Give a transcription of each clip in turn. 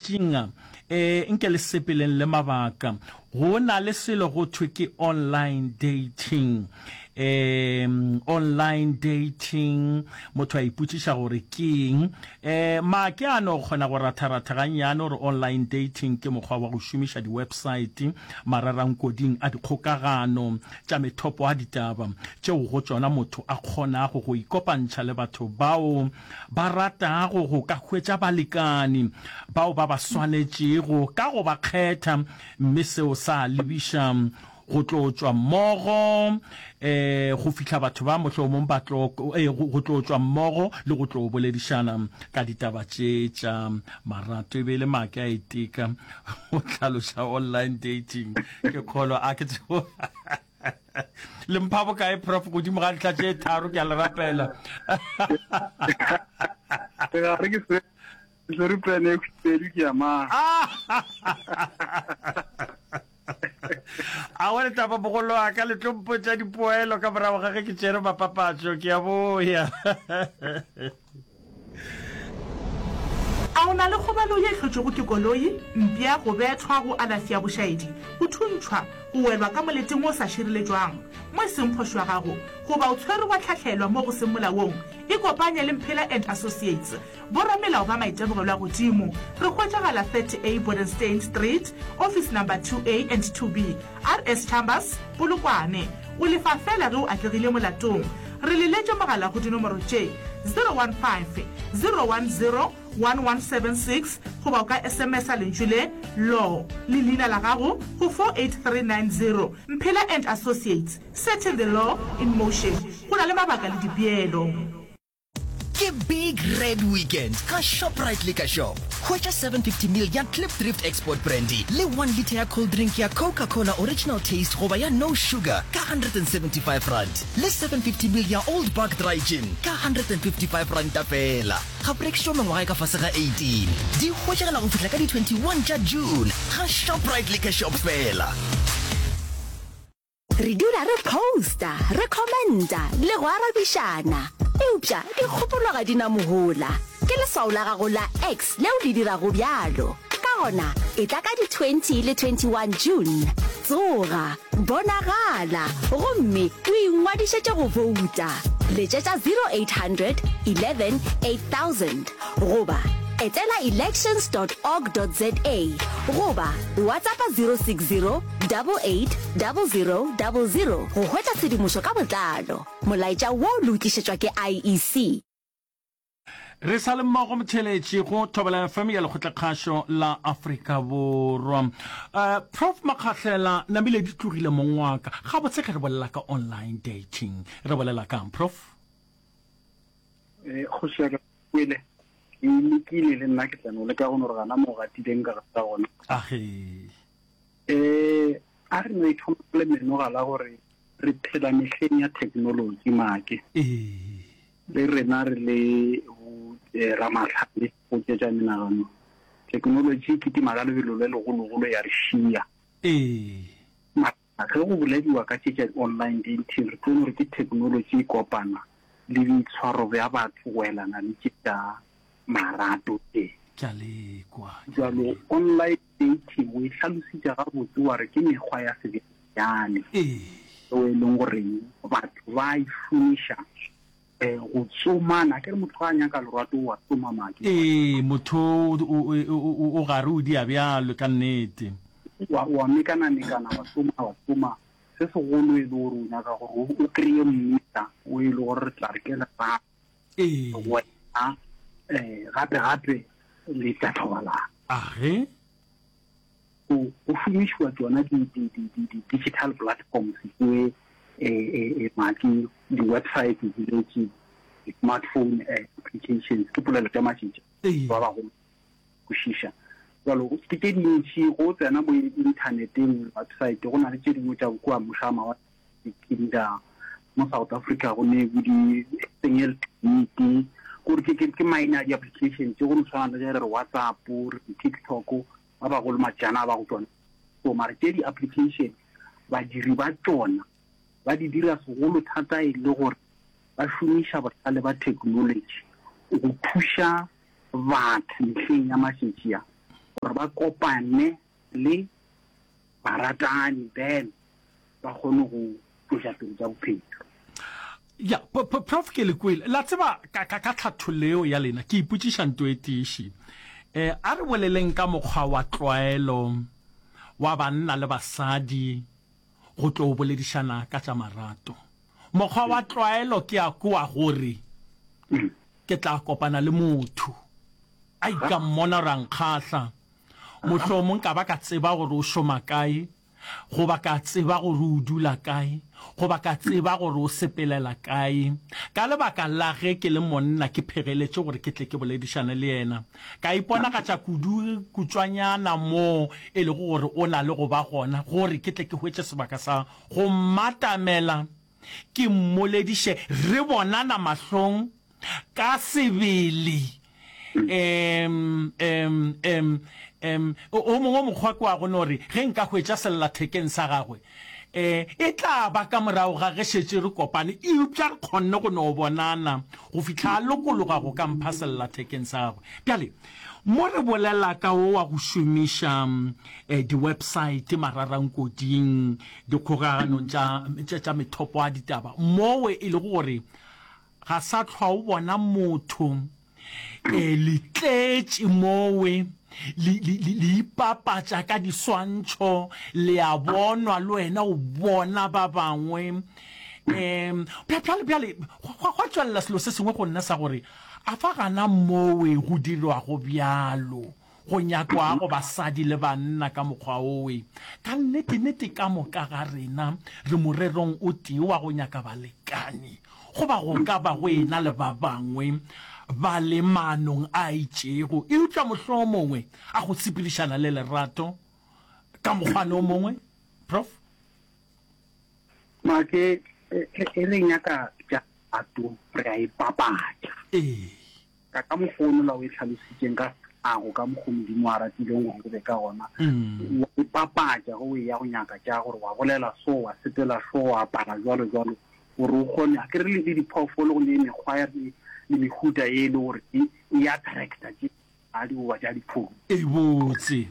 Matšatšing a, e, nke le sepeleng le mabaka. Go na le selo go thwe ke online dating. E, online dating, motho a ipotšiša gore ke eng. E, make a no kgona go ratharatha gannyane gore online dating ke mokgwa wa go šomiša di-website mararankoding a dikgokagano tša methopo a ditaba tšeo go tšona motho a kgonago go ikopantšha le batho bao ba ratago go ka hwetša balekani bao ba ba swanetšego ka go ba kgetha, mme seo sa lebiša go tlo tšwa mmogo um go fihla batho ba mohlomong ba tlo go tlo tšwa mmogo le go tlo boledišana ka ditaba tše tša marato. E be e le make a iteka go hlaloša online dating. Ke kgolwa a ke tsebo. Le mpha bokae prof godimo ga ntlha tše tharo ke a le rapela. Ga re ke se swere pene e khubedu ke ya mang. Aowa letaba bogolo wa ka le tlo mpotša dipoelo ka morago ga ge ke tšere mapapatšo ke a boya. A o na le kgobalo ye e hlotšwego ke koloi, mpša, go bethwa, go alafša bošaedi, go thuntšhwa, go welwa ka moleteng wo o sa šireletšwang, mo e seng phošo ya gago, goba o tshwerwe wa hlahlelwa mo go seng molaong? Ikopanye le Mphela and Associates, boramelao ba maitemogelo a godimo. Re hwetšagala 30A Bodenstein Street, Office Number 2A and 2B, RS Chambers, Polokwane. O lefa feela ge o atlegile molatong. Re leletše mogala go dinomoro tše, 015 010 1176 goba o ka SMS-a lentšu le, law, le leina la gago go 48390. Mphela and Associates, setting the law in motion. Go na le mabaka le dipeelo. Ke Big Red Weekend ga Shoprite Liquor Shop. Hwetša 750 ml ya Klipdrift Export Brandy le 1 litre ya cold drink ya Coca-Cola Original Taste goba ya No Sugar ka R175 le 750 ml ya Old Buck Dry Gin ka R155 feela. Ga go rekišwa mengwaga e ka fase ga 18. Di hwetšagala go fihla ka di 21 tša June ga Shoprite Liquor Shop feela. Re dula re posta, re commenta le go arabišana. Eupša dikgopolo ga di na mohola. Ke leswao la gago la X leo le dirago bjalo. Ka gona, etla ka di 20 le 21 June. Tsoga, bonagala, gomme o ingwadišetše go bouta. Letšetša 0800 11 8000 goba etela elections dot org dot za goba WhatsAppa 060 88 00 00 go hwetša tshedimošo ka botlalo. Molaetša wo le o tlišetšwa ke IEC. Re sa le mmogo motheeletši go Thobela FM ya Lekgotlakgašo la Afrika Borwa. Uh, Prof Makgahlela namile di tlogile mong wa ka. Gabotse ge re bolela ka online dating, re bolela kang Prof? Eh, kgoši ya ka kwele ke lekile le nna ke tla no leka go no re gana mo gatileng ka gata gona. Age. Eh, a re no ithoma le menoga la gore re phela mehleng ya technology make. Ee. Le rena re le bo eh, ramahlale go tšetša menagano. Technology e kitima ka lebelo le legologolo ya re šia. Ee. Mara ge go bolediwa ka tše tša online dating re tlo no re ke technology e kopana le boitshwaro bja batho go elana le tše tša marato tše. Ke a lekwa, ke a Bjalo lekwa. online dating o e hlalositše gabotse wa re ke mekgwa ya sebjalebjale Ee. yeo e leng goreng batho ba e šomiša go tsomana. Akere motho ga a nyaka lerato o a tsoma make. Ee, motho o, o, o, o gare o dia bjalo ka nnete. Wa, wa mekana-mekana, wa tsoma, wa tsoma. Se segolo e le gore o nyaka gore o kry-e monna o e le gore re tla re ke lerato. Ee. Wena um gape gape le tla thobalana. Age. Go go šomišiwa tšona di di di di di digital platforms tše eh eh make di website di le tše di smartphone applications ke polelo tša matšetša ba bagolo kwešiša. Bjalo ke tše dintši go tsena mo inthaneteng website go na le tše dingwe tša kua mošama mawatle Tinder, mo South Africa go ne bo di Single Meet, gore ke ke ke maina a di-application tše go no tshwana le ge re re WhatsApp, re re TikTok, ba bagolo matšana ba go tšona. So mara tše di-application badiri ba tšona ba di dira segolo thata e le gore ba šomiša bohlale ba technology go thuša batho mehleng ya matšatši a. Gore ba kopane le baratani then ba kgone go tšwetša pele tša bophelo. Ya, Prof ke le kwele. La tseba ka, ka, ka tlhathollo yeo ya lena, ke ipotšiša nto e tiši. Eh, a re boleleng ka mokgwa wa tlwaelo wa banna le basadi go tlo boledišana ka tša marato. Mokgwa wa tlwaelo ke a kwa gore ke tla kopana le motho, ai ka mmona gore a nkgahla, mohlomong ka ba ka tseba gore o šoma kae, goba ka tseba gore o dula kae, goba ka tseba gore o sepelela kae. Ka lebaka la ge ke le monna ke phegeletše gore ke tle ke boledišane le yena, ka iponagatša kudu kutšwanyana moo e lego gore o na le go ba gona, gore ke tle ke hwetše sebaka sa go mmatamela ke mmolediše re bonana mahlong ka sebele. Um, um, um, um, o mongwe mokgwa ke wa go no re ge nka hwetša sellathekeng sa gagwe, um e tla ba ka morago ga ge šetše re kopane, eupša re kgonne go no bonana go fihla a lokologa go ka mpha sellathekeng sa gagwe. Bjale, mo re bolela ka wo wa go šomiša um di-website mararankoding, dikgokaganong tša, tša, tša methopo ya ditaba, mowe e lego gore ga sa hlwa o bona motho, e, le tletše mowe, le, le, le, le ipapatša ka diswantšho, le a bonwa, le wena o bona ba bangwe. Um, bjale, bjale, gwa, gwa tšwelela selo se sengwe go nna sa gore, a fa gana mowe go dirwago bjalo? Go nyakwago basadi le banna ka mokgwa owe. Ka nnete-nnete ka moka ga rena re morerong o tee wa go nyaka balekani, goba go ka ba go e-na le ba bangwe ba le maanong a itšego, eupša mohlomongwe a go sepedišana le lerato ka mokgwana o mongwe. Prof. Make, ge re nyaka tša lerato, re a ipapatša. Ee. Ka ka mokgwa o nola o e hlalositšeng ka tlhago, ka mokgwa Modimo a ratileng gore go be ka gona, wa ipapatša ge o eya go nyaka tša gore wa bolela so, wa sepela so, wa apara jwalo jwalo, gore o kgone, a ke re le diphoofolo go ne mekgwa ya le mehuta ye e le gore e e attracta tše di goba tša dipholo. E botse.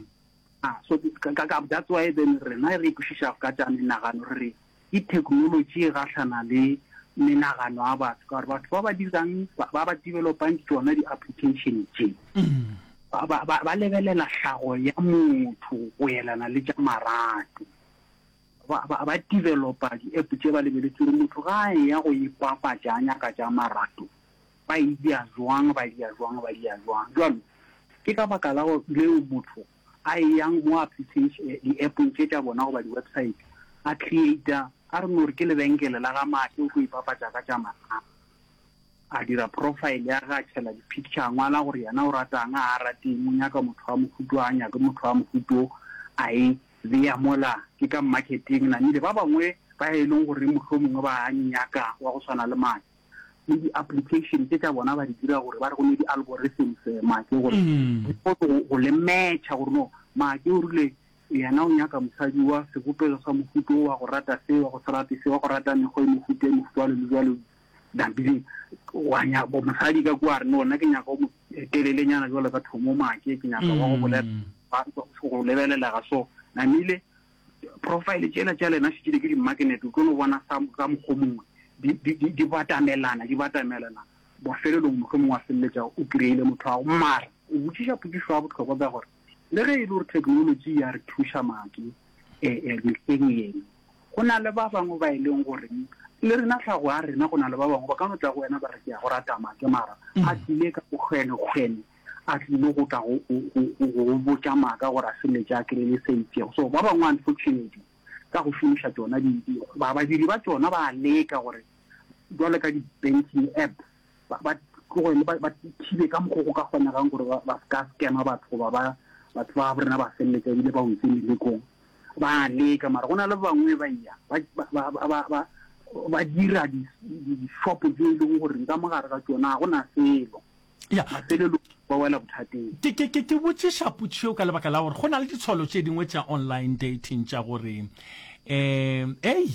Ah, so ka ka that's why then rena re ikwešiša ka tša menagano re re Ke theknolotši e gahlana le menagano ya batho ka gore batho ba ba dirang ba ba developang tšona di-application tše ba, ba, ba, ba lebelela hlago ya motho go elana le tša marato. Ba, ba, ba developa di-app tše ba lebeletše gore motho ga a eya go ipapatša a nyaka tša marato ba e dia jwang, ba dia jwang, ba dia jwang. Jwalo ke ka baka la leo motho a eyang mo application di-appong tše tša bona goba di-website a creata a re no re ke lebenkele la ga Maake o tlo ipapatša ka tša mahala a dira profile ya ge a tšhela di-picture a ngwala gore yena o ratang a a rateng o nyaka motho wa mohuto a nyake motho wa mohuto a e beya mola ke ka marketing namile ba bangwe ba e leng gore mohlomongwe ba a nyaka wa go swana le Maake le di-application tše tša bona ba di dira gore ba re go ne di-algorithms eh, make gore mm. di kgone go le matcha gore no make o rile yena o nyaka mosadi wa sebopego sa mohuto wa go rata se wa go se rate se wa go rata mekgwa e mohuto e mohuto wa le jalo dabile wa nya bo mosadi ka kwa re no nna ke nyaka o mo telelenyana jalo ka thomo make ke nyaka wa go bolela mm. go lebelela ga so namile Profile tšela tša lena šetše ke di-magnet, o tlo no bona sa ka mokgwa mongwe di, di, di, di batamelana, di batamelana. Mafelelong mohlomongwe wa feleletša o kry-ile motho wa gago. Mara o botšiša potšišo ya bohlokwa ka gore le ge e le gore technology ya re thuša maake eh, eh, mehleng yeno, go na le ba bangwe ba e leng gore le rena tlhago ya rena, go na le ba bangwe ba ka no tla go wena ba re ke ya go rata maake, mara a tlile ka bokgwenekgwene a tlile go tla go, go, go, go botša maaka gore a feleletše a kry-ile se itšego. So ba bangwe unfortunately ka go šomiša tšona di, di, ba, badiri ba tšona ba leka gore jwalo ka di-banking app ba, ba tlogele ba, ba thibe ka mokgwa go ka kgonegang gore ba, ba se ka scamma batho goba ba, batho ba rena ba feleletša ebile ba wetse melekong. Ba leka mara go na le ba bangwe ba ya ba, ba, ba, ba, ba, ba, ba dira di-shop tse e leng gore ka mogare ga tšona ga go na selo. Ya. Mafelelong ba wela bothateng. Ke, ke, ke, ke botšiša potšišo ka lebaka la gore go na le ditshwalo tše dingwe tša online dating tša gore um ei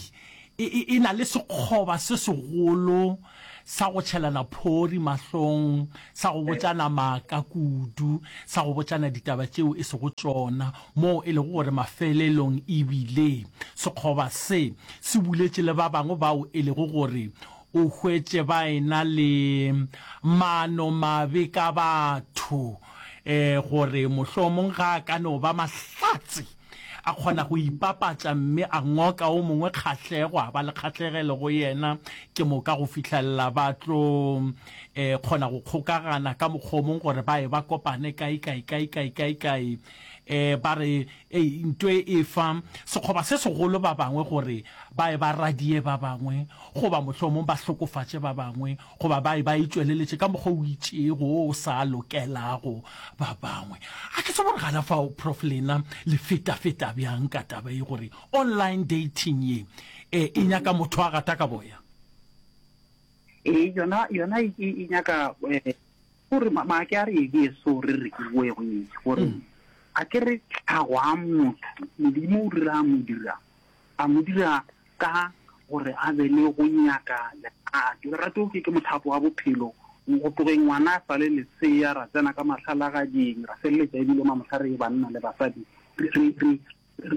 e, e, e na le sekgoba se segolo. sa go tšhelana phori mahlong, sa go botšana maaka kudu, sa go botšana ditaba tšeo e sego tšona, moo e lego gore mafelelong e bile sekgoba se se buletše le ba bangwe bao e lego gore o hwetše ba ena le maanomabe ka batho, e, gore mohlomong ga a ka no ba mahlatse. A kgona go ipapatša mme a ngoka o mongwe kgahlego, a ba le kgahlegelo go yena, ke moka go fihlelela ba tlo e, kgona go kgokagana ka mokgwa o mongwe gore ba ye ba kopane kae, kae, kae, kae, kae, kae. E, ba re, Ei, nto e e fa sekgoba se segolo ba bangwe gore ba ye ba radie ba bangwe, goba mohlomong ba hlokofatše ba bangwe, goba ba ba itšweleletše ka mokgwa o itšego wo o sa lokelago ba bangwe. A ke tsebe gore gana fao, Prof. Lena le fetafeta bjang ka taba ye gore online dating ye e, e nyaka motho a gata ka boya? Ee, yona, yona e, e, e nyaka eh, gore maake a re e ke so re re ke boe go etse gore mm. a ke re tlhago a motho modimo o dira mo dira a mo dira ka gore a be le go nyaka lerato. Lerato ke, ke mothapo wa bophelo. Go tlogeng ngwana a sa le lesea, ra tsena ka mahlalagading, ra feleletša ebile mamohla re banna le basadi, re, re, re,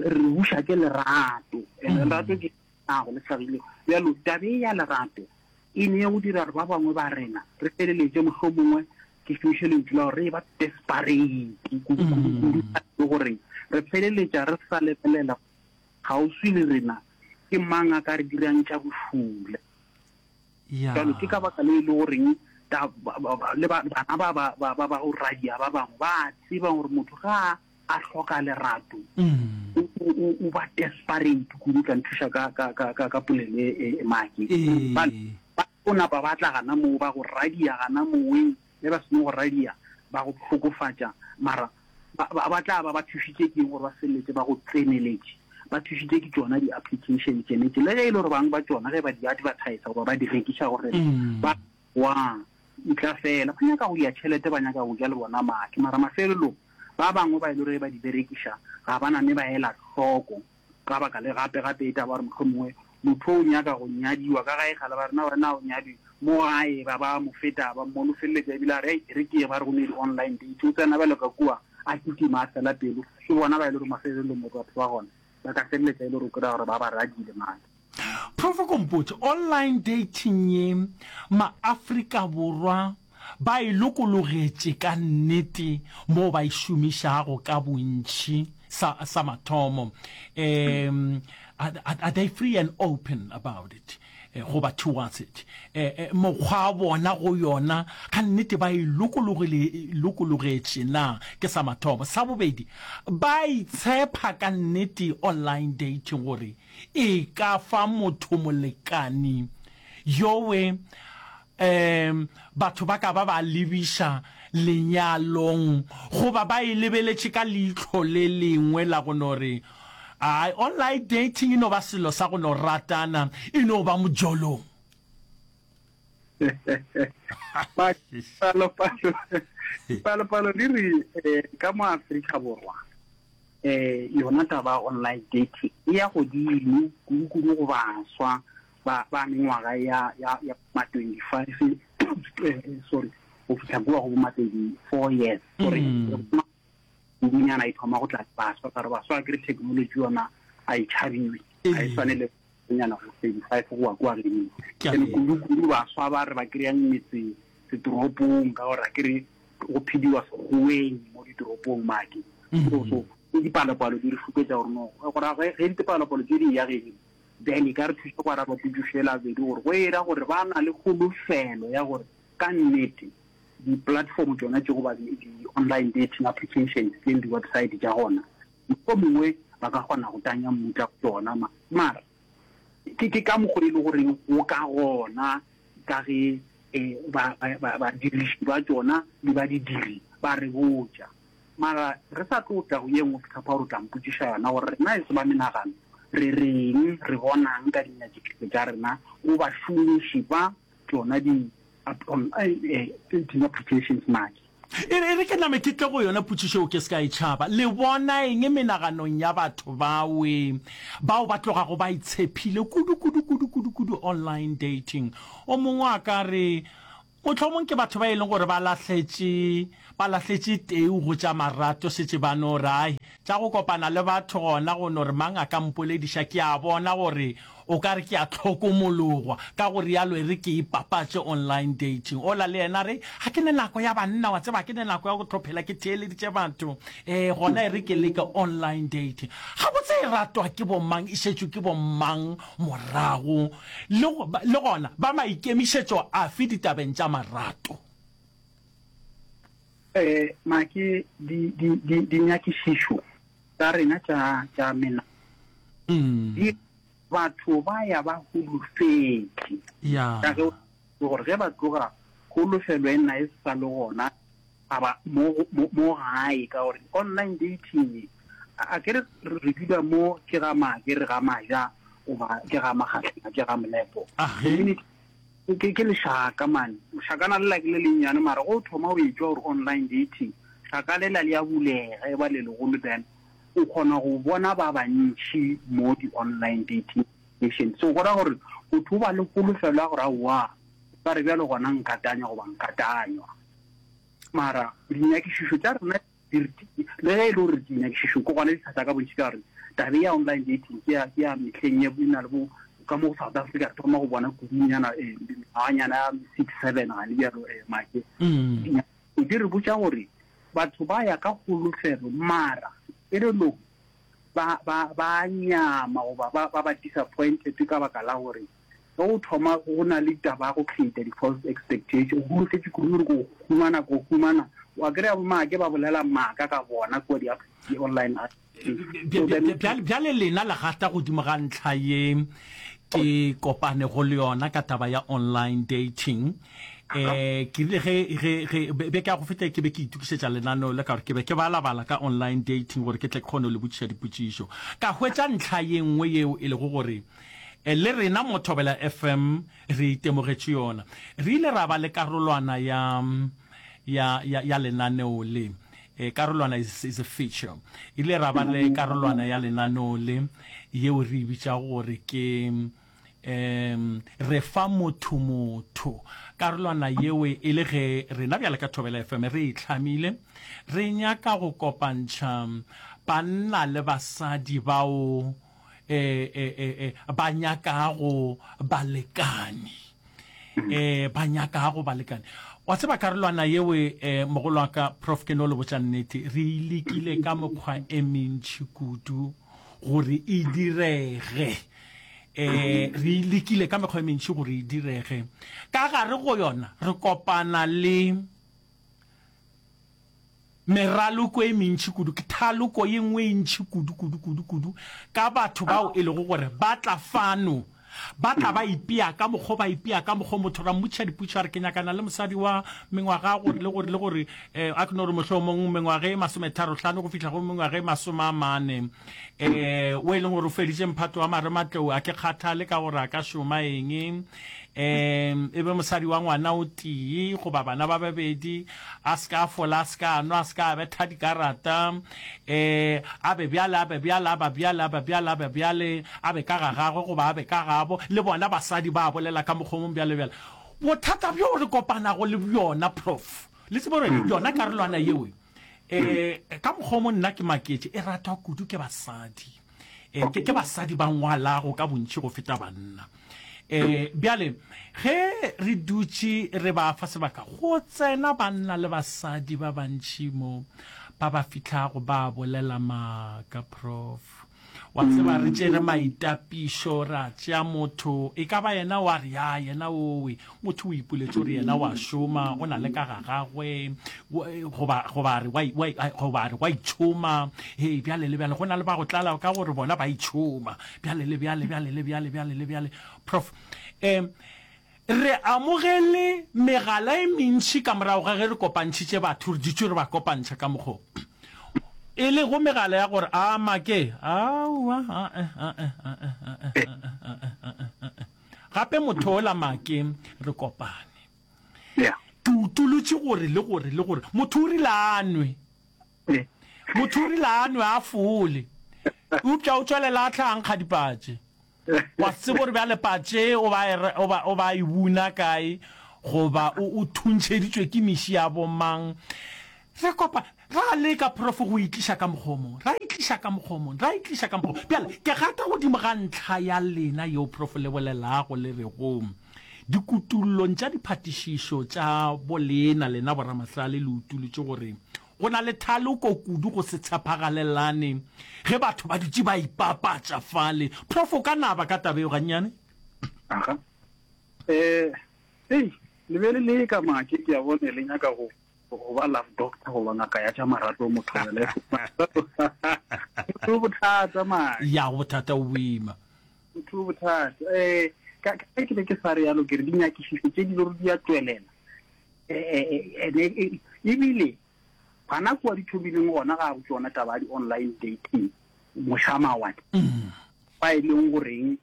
re buša ke lerato. And mm. lerato ke nago le hlagile. Bjalo, tabe ya lerato e ne go dira gore ba bangwe ba rena re feleletše mohlomongwe ke šomiše lentšu la gore re e ba desperate kudu-kudu-kudu mm. gore re feleletša re sa lebelela Kgauswi le rena ke mang a ka re dirang tša bošula? Bjalo ke ka baka le e le goreng le bana ba ba ba ba ba go radia ba bangwe ba tseba gore motho ga a hloka lerato mm. o ba desperate kudu tla nthuša ka ka ka ka ka polelo e, e, e maki ba o napa ba tla gana moo ba go radia gana moweng Ge ba seno go radia, ba go hlokofatša, mara ba, ba, ba tla ba ba thušitše ke eng gore ba feleletše ba go tseneletše? Ba thušitše ke tšona di-application tšene tše, le ge e le gore bang ba tšona ge ba di advertisa goba ba di rekiša go rena, ba wa ntla fela, ba nyaka go dia tšhelete, ba nyaka go ja le bona madi, mara mafelelong ba bangwe ba e le gore ge ba di berekiša ga ba name ba ela hloko. Ka baka le gape, gape e taba gore mohlomongwe motho o nyaka go nyadiwa ka gae kgale ba re na wena o nyadiwe mo gae ba ba mo feta ba mmone o feleletša ebile a re e re ke ye ba re go ne di-online date o tsena bjalo ka kua a kitima a fela pelo ke bona ba e le gore mafelelong mo batho ba gona ba ka feleletša e le gore o kry-a gore ba ba radile mane. Prof Kompotše, online dating ye ma-Afrika Borwa ba e lokologetše ka nnete moo ba e šomišago ka bontši sa, sa mathomo. Um, are, are they free and open about it? Eh, goba towards it? Eh, eh, mokgwa wa bona go yona ka nnete ba e lokologile, lokologetše na? Ke sa mathomo. Sa bobedi, ba itshepha ka nnete online dating gore e ka fa motho molekani yowe um batho ba ka ba ba lebiša lenyalong goba ba e lebeletše ka leihlo le lengwe la go no re, Ai, online dating e no ba selo sa go no ratana, e no ba mojolong. Palopalo, palopalo di re eh, ka mo Afrika Borwa eh yona taba online dating e ya godimo kudu-kudu go baswa ba ba mengwaga ya ya ya ma 25 eh, sorry go fihla kua go ma 34 years sorry mm. kudunyana e thoma go tla baswa ka re baswa ke re technology yona a e tšhabiwe a e swane le nyana go 35 go wa kua godimo ene kudu kudu baswa ba re ba kry-ang metse setoropong ka gore a ke re go phediwa sekgoweng mo ditoropong make mm. so so dipalopalo di re šupetša gore no gora ge dipalopalo tse di ya gedimo Then e ka re thuša go araba potšišo yela ya bobedi gore go era gore ba na le kholofelo ya gore ka nnete di-platform tšona tše goba di-online dating applications tše le di-website tša gona mohlomongwe ba ka kgona go tanya mmutla go tšona. Mara ke ke ka mokgwa e le goreng go ka gona ka ge ba ba badiriši ba tšona le ba didiri ba re botša. Mara re sa tlo tla go ye nngwe Peter Power o tla mpotšiša yona gore rena e se ba menagano re reng, re bonang ka dinyakišišo tša rena go bašomiši ba tšona di dating applications maki. E re, e re ke name ke tle go yona potšišo yeo ke se ka e tšhaba. Le bona eng menaganong ya batho bawe bao ba tlogago ba itshephile kudu, kudu, kudu, kudu, kudu online dating? O mongwe a ka re, Mohlomong ke batho ba e leng gore ba lahletše, ba lahletše teu go tša marato, šetše ba no re, Ai, tša go kopana le batho gona go no re mang a ka mpolediša, ke a bona gore o ka re ke a hlokomologwa, ka go realo e re ke ipapatše online dating. Ola le yena a re, Ga ke ne nako ya banna, wa tseba, ga ke ne nako ya go tlo phela ke theeleditše batho, ee, gona e re ke leke online dating. Gabotse e ratwa ke bomang, e šetšwe ke bomang morago? Le, le gona ba maikemišetšo afe ditabeng tša marato? Eh, Maki, di, di, di, dinyakišišo tša rena tša, tša mena, mm. di, batho ba ya ba holofetše. Ya. Ka ge gore ge ba tloga holofelo e nna e sa le gona, a ba mo, mo, mo gae, ka gore online dating, a, a ke re re dula mo ke ga Make, re ga Maja, goba ke ga Magahlana, ke ga Molepo. Age. Ke, ke lešaka man. Lešakana lela ke le lennyane, mara go thoma o etšwa gore online dating, šaka lela le a bulega, e ba le legolo, then o kgona go bona ba bantši mo di-online dating application. So go ra gore motho o ba le kholofelo ya gore aowa, ka re bjalo gona nka tanywa goba nka tanywa. Mara dinyakišišo tša rena di re, le ge e le gore dinyakišišo ke gona di thata ka bontši ka gore tabe ya online dating ke ya, ke ya mehleng ye e na le bo ka mo go South Africa re thoma go bona kudunyana eh, mengwaganyana ya six seven gane bjalo eh, make mm. di re botša gore batho ba ya ka kholofelo mara pelelong ba ba ba nyama goba ba ba ba disappointed ka baka la gore Ge o thoma go na le taba ya go create di-false expectation, o holofetše kudu gore ko humana, ko humana, wa kry-a bo maake ba bolela maaka ka bona kua di-online. Bjale lena le gata godimo ga ntlha ye ke kopanego le yona ka taba ya online dating. Um ke rile ge ge ge beke ya go feta ke be ke itokišetša lenaneo le ka gore ke be ke balabala ka online dating gore ke tle ke kgone go le botšiša dipotšišo. Ka hwetša ntlha ye nngwe yeo e lego gore Le rena mo Thobela FM re itemogetše yona. Re ile ra ba le karolwana ya, ya, ya, ya lenaneo le. E, karolwana is, is a feature. Ile ra ba le karolwana ya lenaneo le yeo re e bitšago gore ke um re fa motho motho. Karolwana yeo e le ge rena bjale ka Thobela FM re e hlamile, re nyaka go kopantšha banna le basadi bao e, e, e, e, ba nyakago balekane e ba nyakago balekane wa tseba karolwana yeo e mogolo wa ka prof ke no le botša nnete re e lekile ka mokgwa e mentši kudu gore e direge eh re e lekile ka mekgwa e mentši gore e direge ka gare go yona re kopana le Meraloko e mentši kudu, ke thaloko ye nngwe e ntši kudu, kudu, kudu, kudu, ka batho bao e lego gore ba tla fano, ba tla ba ipea ka mokgo, ba ipea ka mokgo, motho ra mmotšiša dipotšišo, a re, Ke nyakana le mosadi wa mengwaga gore le gore le gore, eh, a ke no re mohlomong mengwaga e masometharo-hlano go fihla go mengwaga e masome a mane, eh, o e leng gore o feditše mphato wa marematlou, a ke kgathale ka gore a ka šoma eng, um e be mosadi wa ngwana o tee goba bana ba babedi, a se ka a fola, a se ka a nwa, a se ka a betha dikarata, um a be bjale, a be bjale, a ba bjale, a ba bjale, a be bjale, a be ka ga gagwe goba a be ka gabo, le bona basadi ba bolela ka mokgwa o mongwe bjale bjale. Bothata bjo re kopanago le bjona, Prof, le tsebe gore yona karolwana yeo, um ka mokgwa o mongwe nna ke maketše, e ratwa kudu ke basadi. Um ke, ke basadi ba ngwalago ka bontši go feta banna. E, bjale, ge re dutše re ba fa sebaka, go tsena banna le basadi ba bantši mo, ba ba fihlago ba bolela maaka, Prof. Wa tseba, re tšere maitapišo, ra tšea motho, e ka ba yena wa re, ya, yena owe, motho o ipoletše gore yena wa šoma, o na le ka ga gagwe, goba, goba a re wa, wa, goba a re wa itšhoma, hei, bjale le bjale, go na le ba go tlala ka gore bona ba itšhoma. Bjale le bjale, bjale le bjale, bjale le bjale. Prof. Um, re amogele megala e mentši ka morago ga ge re kopantšhitše batho, re dutše re ba kopantšha ka mokgo e lego megala ya gore a make aowa a-e, a-e, a-e, a-e, a-e, a-e, a-e. Gape motho ola make re kopane. Yeah. Ke utolotše gore le gore le gore motho o rile a nwe. Motho o rile a nwe a fole. Eupša o tšwelela a tla a nkga dipatše. Wa se tsebe gore bjale patše o ba e o ba o ba e buna kae goba o o thuntšheditšwe ke meši ya bomang. Re kopa ra leka Prof go e tliša ka mokgwa o mongwe, ra e tliša ka mokgwa o mongwe, ra e tliša ka mokgwa o mongwe. Bjale ke gata godimo ga ntlha ya lena yeo Prof le bolelago le rego dikutullong tša diphatišišo tša bolena lena boramahlale le utolotše gore Go na le thaloko kudu go se tshepagalelane ge batho ba dutše ba ipapatša fale. Prof, o ka naba ka taba yeo gannyane? Aga. Eh, ei, le be le leka make, ke a bone le nyaka go go ba love doctor goba ngaka ya tša marato motho wena. Motho bothata make. Ya, go bothata o boima. Motho bothata. Eh, ka ka ke be ke sa re yalo ke re dinyakišišo tše di lore di a tšwelela. Ene ebile gana kua di thomileng gona ga go tšona taba ya di-online dating mošamawatle mm. fa e leng goreng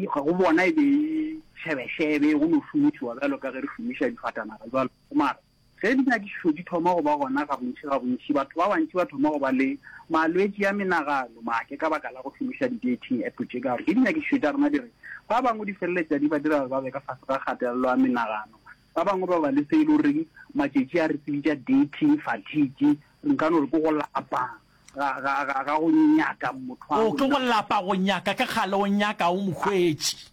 go bona e be e šebešebe go no šomišiwa bjalo ka ge re šomiša difatanaga jalo mara ge dinyakišišo di thoma go ba gona ga bontši ga bontši batho ba bantši ba thoma go ba le malwetši a menagano make ka baka la go šomiša di-dating app tše ka gore ke dinyakišišo tša rena di re ba bangwe di feleletša di ba dira ba be ka fase ga kgatelelo ya menagano Ba bangwe ba ba le se e le goreng matšatši a re se bitša dating fatigue, nka no re ke go lapa ga, ga, ga, ga go nyaka motho a O, ke go lapa go nyaka, ke kgale o nyaka o mo hwetše.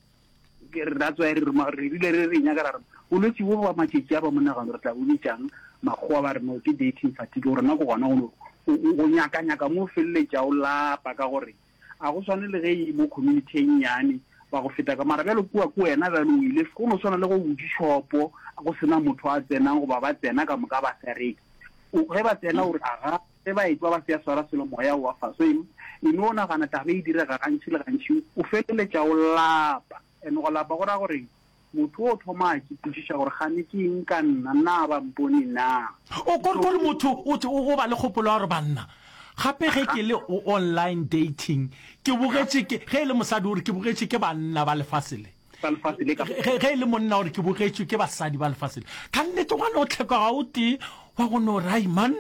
Ke re, that's why re re, re rile re re nyaka ra re, bolwetši bo ba matšatši a ba monagano re tla bo bitšang, makgowa ba re no ke dating fatigue, gore na ke gona go no, go nyaka-nyaka mo o feleletša o lapa ka gore A go swane le ge e mo community e nnyane ba go feta ka mara bjalo kua ke wena bjalo o ile go no swana le go butše shopo go sena motho a tsenang goba ba tsena ka moka ba sa reke o ge ba tsena o re aga ge ba etšwa ba se ya swara selo moya o wa fa so e no nagana taba e direga gantši le gantši o feleletša o lapa and go lapa go ra gore Motho o thoma a ipotšiša gore, Kgane ke eng ka nna? Na ba mpone na? O ko re motho o o ba le kgopolo ya gore banna gape ge ke le o online dating ke bogetše ke ge e le mosadi o re ke bogetše ke banna ba lefase le Ba lefase le ka ge ge e le monna o re ke bogetšwe ke basadi ba lefase le ka nnete gwa no tlhekega o tee wa go no re ai man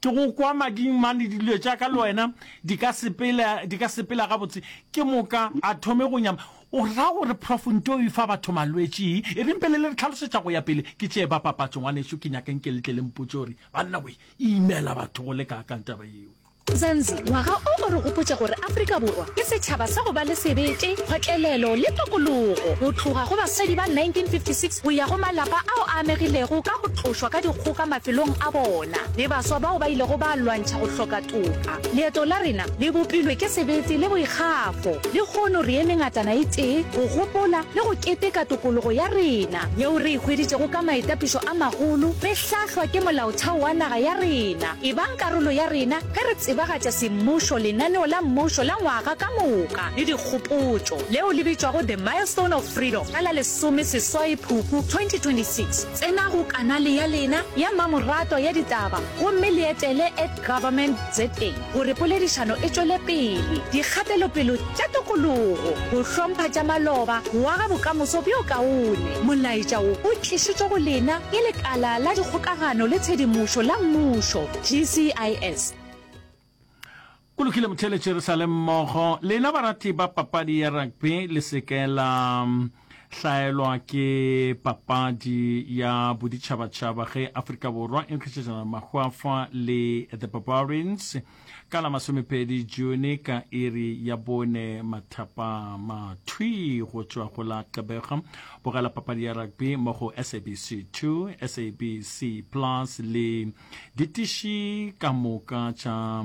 ke go kwa mading man dilo tša ka le wena di ka sepela di ka sepela gabotse ke moka a thome go nyama O ra gore Prof Nto e fa batho malwetši? E reng pele le re tlhalosetša go ya pele, ke tšee ba papatšo ngwanešu ke nyaka nke le tle le mpotše gore banna we e imela batho go le kaakang taba yeo. Mzansi, ngwaga o o re gopotša gore Afrika Borwa ke setšhaba sa go ba le sebete, kgotlelelo le tokologo. Go tloga go basadi ba 1956 go ya go malapa ao a amegilego ka go tlošwa ka dikgoka mafelong a bona le baswa bao ba ilego ba lwantšha go hloka toka. Leeto la rena le bopilwe ke sebete le boikgafo. Lehono re eme ngatana e tee go gopola le go keteka tokologo ya rena yeo re e hweditšego ka maitapišo a magolo re hlahlwa ke Molaotheo wa naga ya rena. Ebang karolo ya rena ge re tsebagatša semmušo lenaneo la mmušo la ngwaga ka moka le dikgopotšo leo le bitšwago The Milestone of Freedom ka la lesomesesoai Phupu 2026. Tsena go kanale ya lena ya mmamoratwa ya ditaba gomme le etele at Government ZA gore poledišano e tšwele pele, dikgatelopelo tša tokologo, go hlompha tša maloba, go aga bokamoso bjo kaone. Molaetša wo o tlišitšwe go lena ke Lekala la Dikgokagano le Tshedimošo la Mmušo, GCIS. Go lokile motheeletši re sa le mmogo. Lena barati ba papadi ya rugby le se ke la hlaelwa ke papadi ya boditšhabatšhaba ge Afrika Borwa e nkgišetšana mahwafa le The Barbarians ka la masomepedi June ka iri ya bone mathapama thwi go tšwa go la Gqeberha. Bogela papadi ya rugby mo go SABC 2, SABC Plus le Ditiši ka moka tša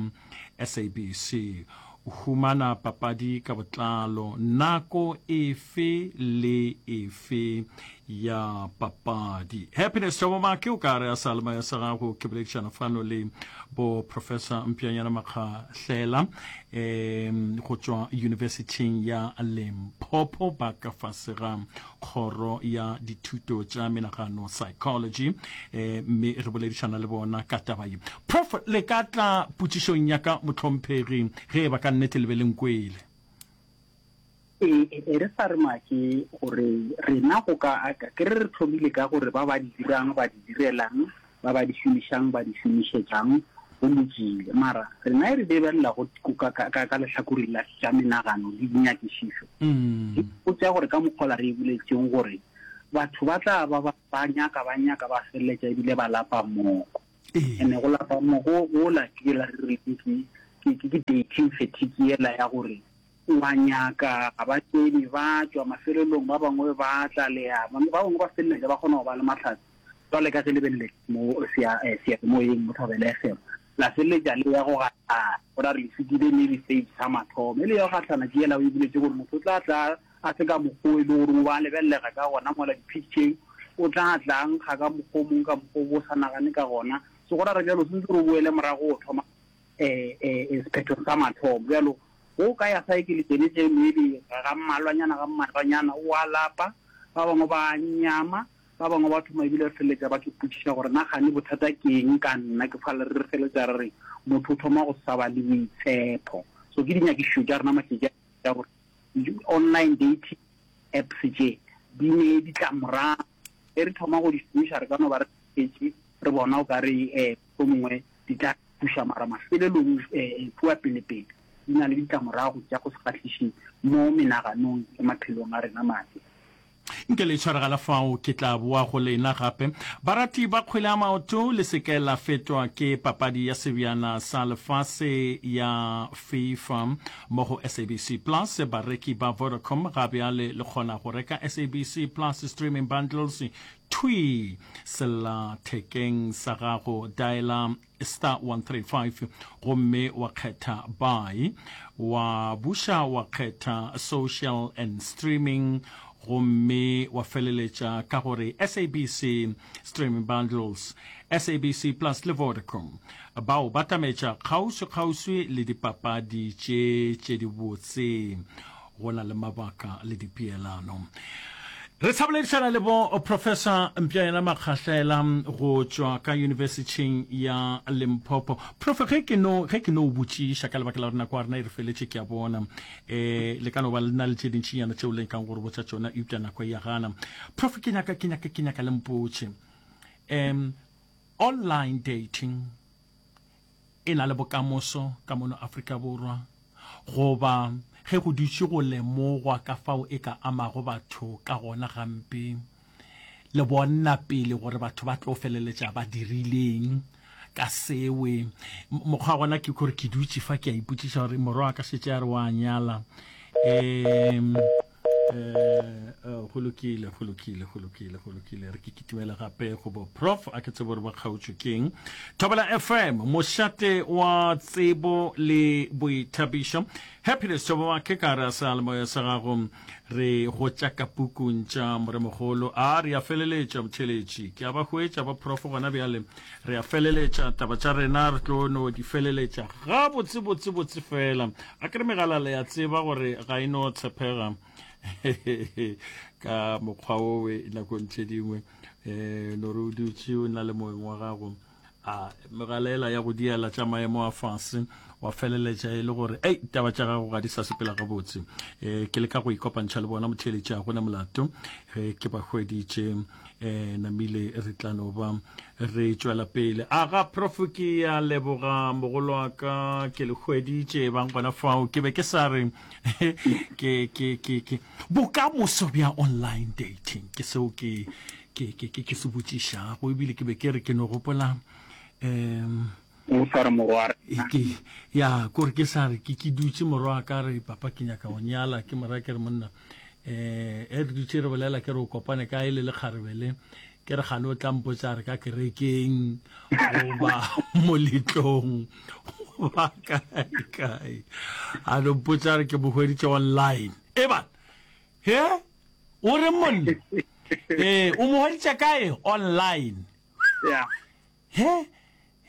SABC. Humana papadi ka botlalo nako efe le efe ya papadi. Happiness Thobomake o ka re a sa le sa gago ke boledišana fano le bo Professor Mpjanyana Makgahlela um go tšwa Universityng ya Limpopo ba ka fase ga Kgoro ya Dithuto tša Menagano, Psychology, eh, mme re boledišana le bona ka taba ye. Prof, le ka tla potšišong ya ka, mohlomphegi, ge e ba ka nnete le be le nkwele. E, e re sa re make gore rena go ka ke re re thomile ka gore ba ba di dirang ba di direlang, ba ba di šomišang ba di šomišetšang, go lokile. Mara rena e re lebelela go ka, ka, ka, ka lehlakoreng la tša menagano le dinyakišišo, di botša gore ka mokgwa la re e boletšeng gore batho ba tla ba ba, ba nyaka, ba nyaka, ba feleletša ebile ba lapa moko. Ene go lapa moko gola ke yela re reng ke, ke, ke, ke dating fatigue yela ya gore O a nyaka, ga ba tsene, ba tšwa, mafelelong ba bangwe ba tla le ya, ba bangwe ba feleletša ba kgona go ba le mahlatse. Jwale ka ge le be le le mo sea, eh, seyalemoyeng mo Thobela FM, la feleletša le ya go gahlana, go ra re le fetile maybe stage sa mathomo. E le ya go gahlana ke yela o e boletše gore motho o tla tla a se ka mokgwa o e le gore o ba lebelelega ka gona mola di-picture-eng, o tla tla a nkga ka mokgwa o mongwe ka mokgwa o bo o sa nagane ka gona. So go ra re bjalo o swanetše gore o boele morago o thoma eh, eh, eh, sephetho sa mathomo. Bjalo go ka ya saekele tsene tše maybe ga mmalwanyana ga mmalwanyana o a lapa, ba bangwe ba nyama, ba bangwe ba thoma ebile re feleletša ba ke potšiša gore na gane bothata ke eng ka nna, ke fale re feleletša re re motho o thoma go sa ba le boitshepo. So ke dinyakišišo tša rena matšatši a gore online dating apps tše di ne ditlamorago, ge re thoma go di šomiša re ka no ba re šetše re bona o ka re um mohlomongwe di tla thuša mara mafelelong um kua pelepele di na le ditlamorago tša go se kgahliše mo menaganong le maphelong a rena mabe. Nke le tshwaregela fao, ke tla boa go lena gape. Barati ba kgwele ya maoto, le se ke la fetwa ke papadi ya Sebjana sa Lefase ya FIFA mo go SABC Plus. Bareki ba Vodacom ga bjale le kgona go reka SABC Plus streaming bundles thwii sellathekeng sa gago. Dialer star 135 gomme wa kgetha buy, wa buša wa kgetha social and streaming gomme wa feleletša ka gore SABC Streaming Bundles, SABC Plus le Vodacom bao ba tametša kgauswi-kgauswi le dipapadi tše tše dibotse. Go na le mabaka le dipeelano. Re sa boledišana le bo Professor Mpjayena Makgahlela go tšwa ka Yunibesithing ya Limpopo. Prof, ge ke no ge ke no botšiša ka lebaka la gore nako ya rena e re feletše ke a bona eh le ka no ba le na le tše dintšinyana tšeo le nkang gore botša tšona eupša nako e ya gana. Prof, ke nyaka ke nyaka ke nyaka le mpotše. Um online dating e na le bokamoso ka mono Afrika Borwa goba ge go dutše go lemogwa ka fao e ka amago batho ka gona gampe, le bonna pele gore batho ba tlo feleletša ba dirileng ka sewe. Mokgwa wa gona ke gore ke dutše fa ke a ipotšiša gore morwa wa ka šetše a re wa nyala. Um eh, go lokile go lokile go lokile go lokile re ke kitimele gape go bo prof a ke tsebo gore ba kgaotšwe keng thobela fm mošate wa tsebo le boithabišo happiness thobo wa ke ka re a seyalemoya sa gago re go tša ka pukung tša moremogolo a re a feleletša motheletši ke a ba hwetša ba prof gona bjale re a feleletša taba tša rena re tlo no di feleletša ga botse botse botse fela a ke re megala le ya tseba gore ga e no tshepega ka mokgwa owe nakong tše dingwe um no re o dutše o na le moeng wa gago a megala ela ya go diela tša maemo a fase wa feleletša e le gore ei taba tša gago ga di sa sepela gabotse um ke leka go ikopantšha le bona motheeletši a gona molato ge ke ba hweditše um namile re tla no ba re tšwela pele a ga prof ke ya leboga mogolo wa ka ke le hweditše bang gona fao ke be ke sa re ke ke ke ke bokamoso bja online dating ke seo ke ke ke ke ke se botšišago ebile ke be ke re ke no gopola um O sa re morwa rena. Ke, ya, kore ke sa re, ke, ke dutše morwa ka re, papa ke nyaka go nyala, ke mora ke re monna, eh, e re dutše re bolela ke re o kopane kae le lekgarebe le, ke re gane o tla mpotša re ka kerekeng goba moletlong goba kae kae, a no mpotša re ke mo hweditše online. Eban, he, o re monna, eh, o mo hweditše kae online? Ya. He,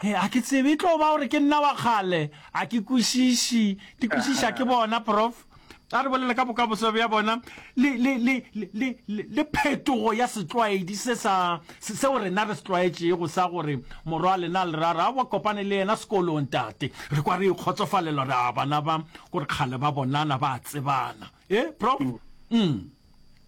he, a ke tsebe, e tlo ba gore ke nna wa kgale, a ke kwešiše, di kwešiša ke bona, Prof. A re bolele ka bokamoso bja bona le, le, le, le, le, le phetogo ya setlwaedi se sa, seo rena re se tlwaetšego sa gore morwa wa lena le ra re, Aowa, kopane le yena sekolong, tate. Re kwa re ikgotsofalelwa, re a bana ba, kore kgale ba bonana, ba a tsebana. E, Prof? Mm.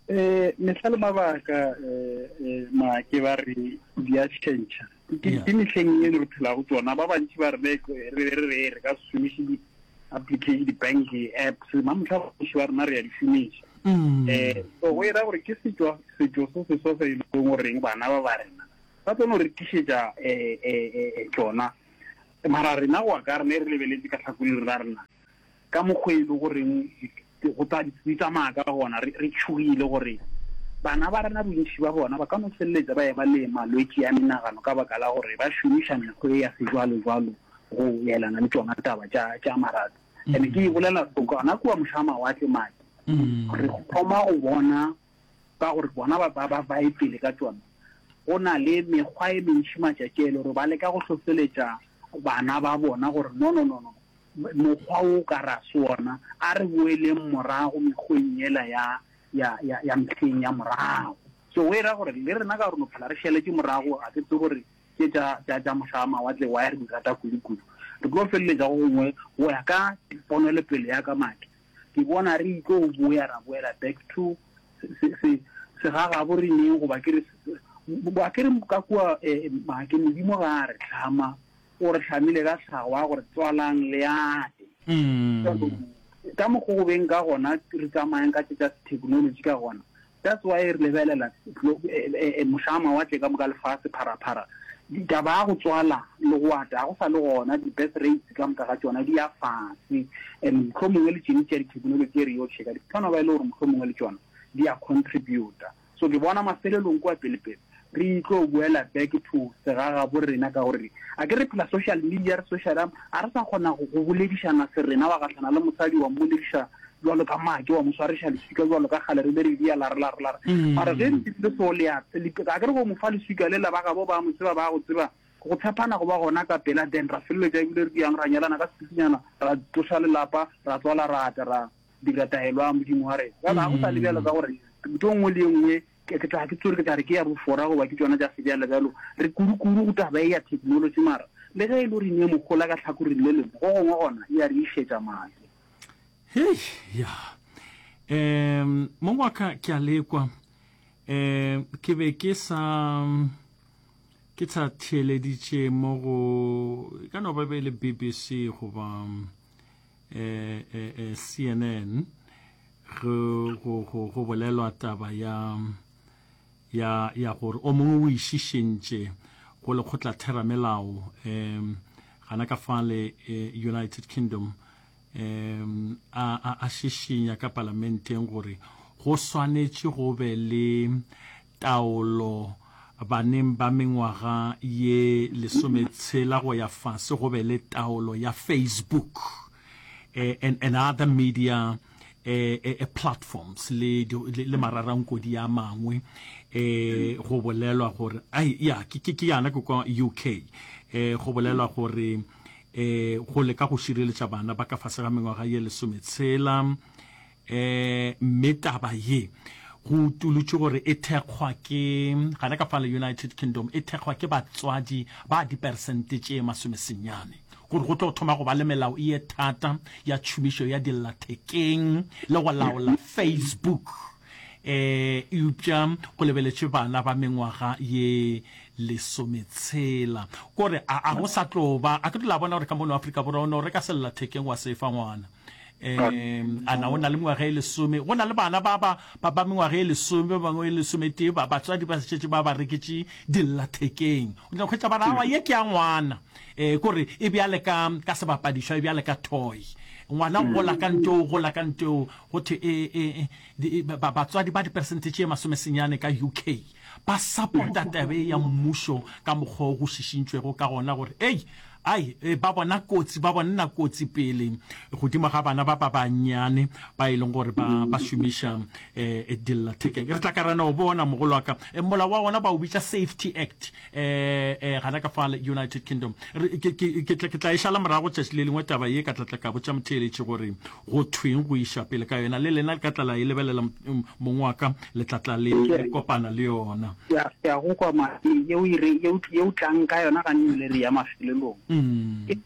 Eh, mehla le mabaka, eh, eh, maake ba re di a tšhentšha. Ke, ke mehleng eno re phelago tsona, ba bantši ba re re, re, re, re ka se šomiše di, application di-bank apps mamotlha bontši ba rena re ya di šomiša um so go era gore ke setšo setšo se seswa se e leng goreng bana ba ba rena ba tlo no re tlišetša um tsona mara rena go ya ka rena e re lebeletse ka tlhakoleng la rena ka mokgwa e le goreng go tsa di tsamaya ka gona re tšhogile gore bana ba rena bontši ba bona ba ka no feleletsa ba eba le malwetši a menagano ka baka la gore ba šomiša mekgwa e ya sejwalojwalo go elana le tšona taba tša tša marato. Ene ke e bolela so gona kua moša mawatle maki re thoma go bona ka gore bona ba ba ba e pele ka tšona. Go na le mekgwa e mentši matšatši a e le gore ba leka go hlohleletša bana ba bona gore no no no no mokgwa wo ka ra se wona a re boeleng morago mekgweng yela ya ya ya ya mehleng ya morago. So go e ra gore le rena ka gore no phela re šaletše morago ga ke tsebe gore tše tša, tša, tša moša wa mawatle why re di rata kudu-kudu. Re tlo feleletša go gongwe go ya ka ponelopele ya ka Maki. Ke bona re itlo boya ra boela back to se, se, se, segagabo re neng goba ke re, a ke re ka kua eh, Maki, Modimo ga a re hlama, o re hlamile ka tlhago ya gore tswalang le ate. Ka mokgo go beng ka gona re tsamayang ka tše tša technology ka gona, That's why re lebelela moša wa mawatle ka moka lefase pharaphara, taba ya go tswala le go ata ga go sa le gona, di-birth rates ka moka ga tšona di ya fase and mohlomongwe le tšene tša di-technology e re yo checka di kgona ba e le gore mohlomongwe le tšona di a contributa. So ke bona mafelelong kua pele-pele re tlo boela back to segagabo rena ka gore a ke re phela social media re social a re sa kgona go boledišana se rena wa gahlana le mosadi wa mmolediša jwalo ka make wa mo swariša leswika jwalo ka kgale re be re dia lare lare lare mm. mara ge re dirile so le a a ke re go mo fa leswika le la ba gabo ba mo tseba ba go tseba go tshepana go ba gona ka pela then ra feleletša ebile re diang ra nyalana ka sepikinyana ra tloša lelapa ra tswala ra ata ra dira taelo ya modimo wa rena jalo ga go sa le bjalo ka gore ntho e nngwe le e nngwe ke ke tla ke tsore ke tla re ke ya bofora goba ke tšona tša sebjalebjalo re kudu-kudu go taba e ya technology mara le ge e le gore ne mogola ka tlhakoreng le lengwe go gongwe gona e ya re išetša maake. Hei ya um mong wa ka ke a lekwa um ke be ke sa ke sa theeleditše mo go e ka no ba be e le BBC goba eh, eh, eh, CNN go, go, go, go bolelwa taba ya ya ya gore o mongwe o išišentše go lekgotlatheramelao um gana ka fale eh, United Kingdom um a, a, a šišinya ka palamenteng gore go swanetše go be le taolo baneng ba mengwaga ye lesometshela go ya fase go be le taolo ya Facebook eh, and, and other media eh, eh, eh platforms le, le, le mararankodi a mangwe eh, go bolelwa gore ai ya ke ke ke yana ke kwa UK eh, go bolelwa gore eh, go leka go šireletša bana ba ka fase ga mengwaga ye lesometshela E, mme taba ye go utolotšwe gore e thekgwa ke, gana ka fale United Kingdom, e thekgwa ke batswadi ba diperesente tše masomesenyane, gore go tlo thoma go ba le melao ye thata ya tšhomišo ya dillathekeng le go laola Facebook. E, eupša go lebeletšwe bana ba mengwaga ye lesometshela. Kore a, a go sa tlo ba, a ke tlo la bona gore ka mono Afrika Borwa o no reka sellathekeng wa se fa ngwana. um a na o na le mengwaga e lesome go na le bana ba ba ba ba mengwaga e lesome ba bangwe e lesometee ba batswadi ba šetše ba ba reketše dillathekeng o tla hwetša ba re awa ye ke ya ngwana um kore e bjale ka ka sebapadišwa e bjale ka toy ngwana o gola ka nteo o gola ka nteo go thwe e, e, e, batswadi ba diperesente tše masomesenyane ka UK ba support-a tabe ya mmušo ka mokgwa o go šišintšwego ka gona gore ei. Ai, ba bona kotsi, ba bonna kotsi pele godimo ga bana ba ba bannyane ba e leng gore ba, ba šomiša um dillathekeng. Re tla ka ra no bona, mogolo wa ka. Molao wa ona ba o bitša Safety Act, um gana ka fale United Kingdom. Re, ke, ke, ke tla, ke tla e šala morago tšatši le lengwe taba ye, ka tla tla ka botša motheeletši gore go thweng go iša pele ka yona. Le lena le ka tla la e lebelela, mong wa ka, le tla tla le, le kopana le yona. Ke a, ke a go kwa, ma, yeo e re, yeo, yeo tlang ka yona ganne re ya mafelelong. Ke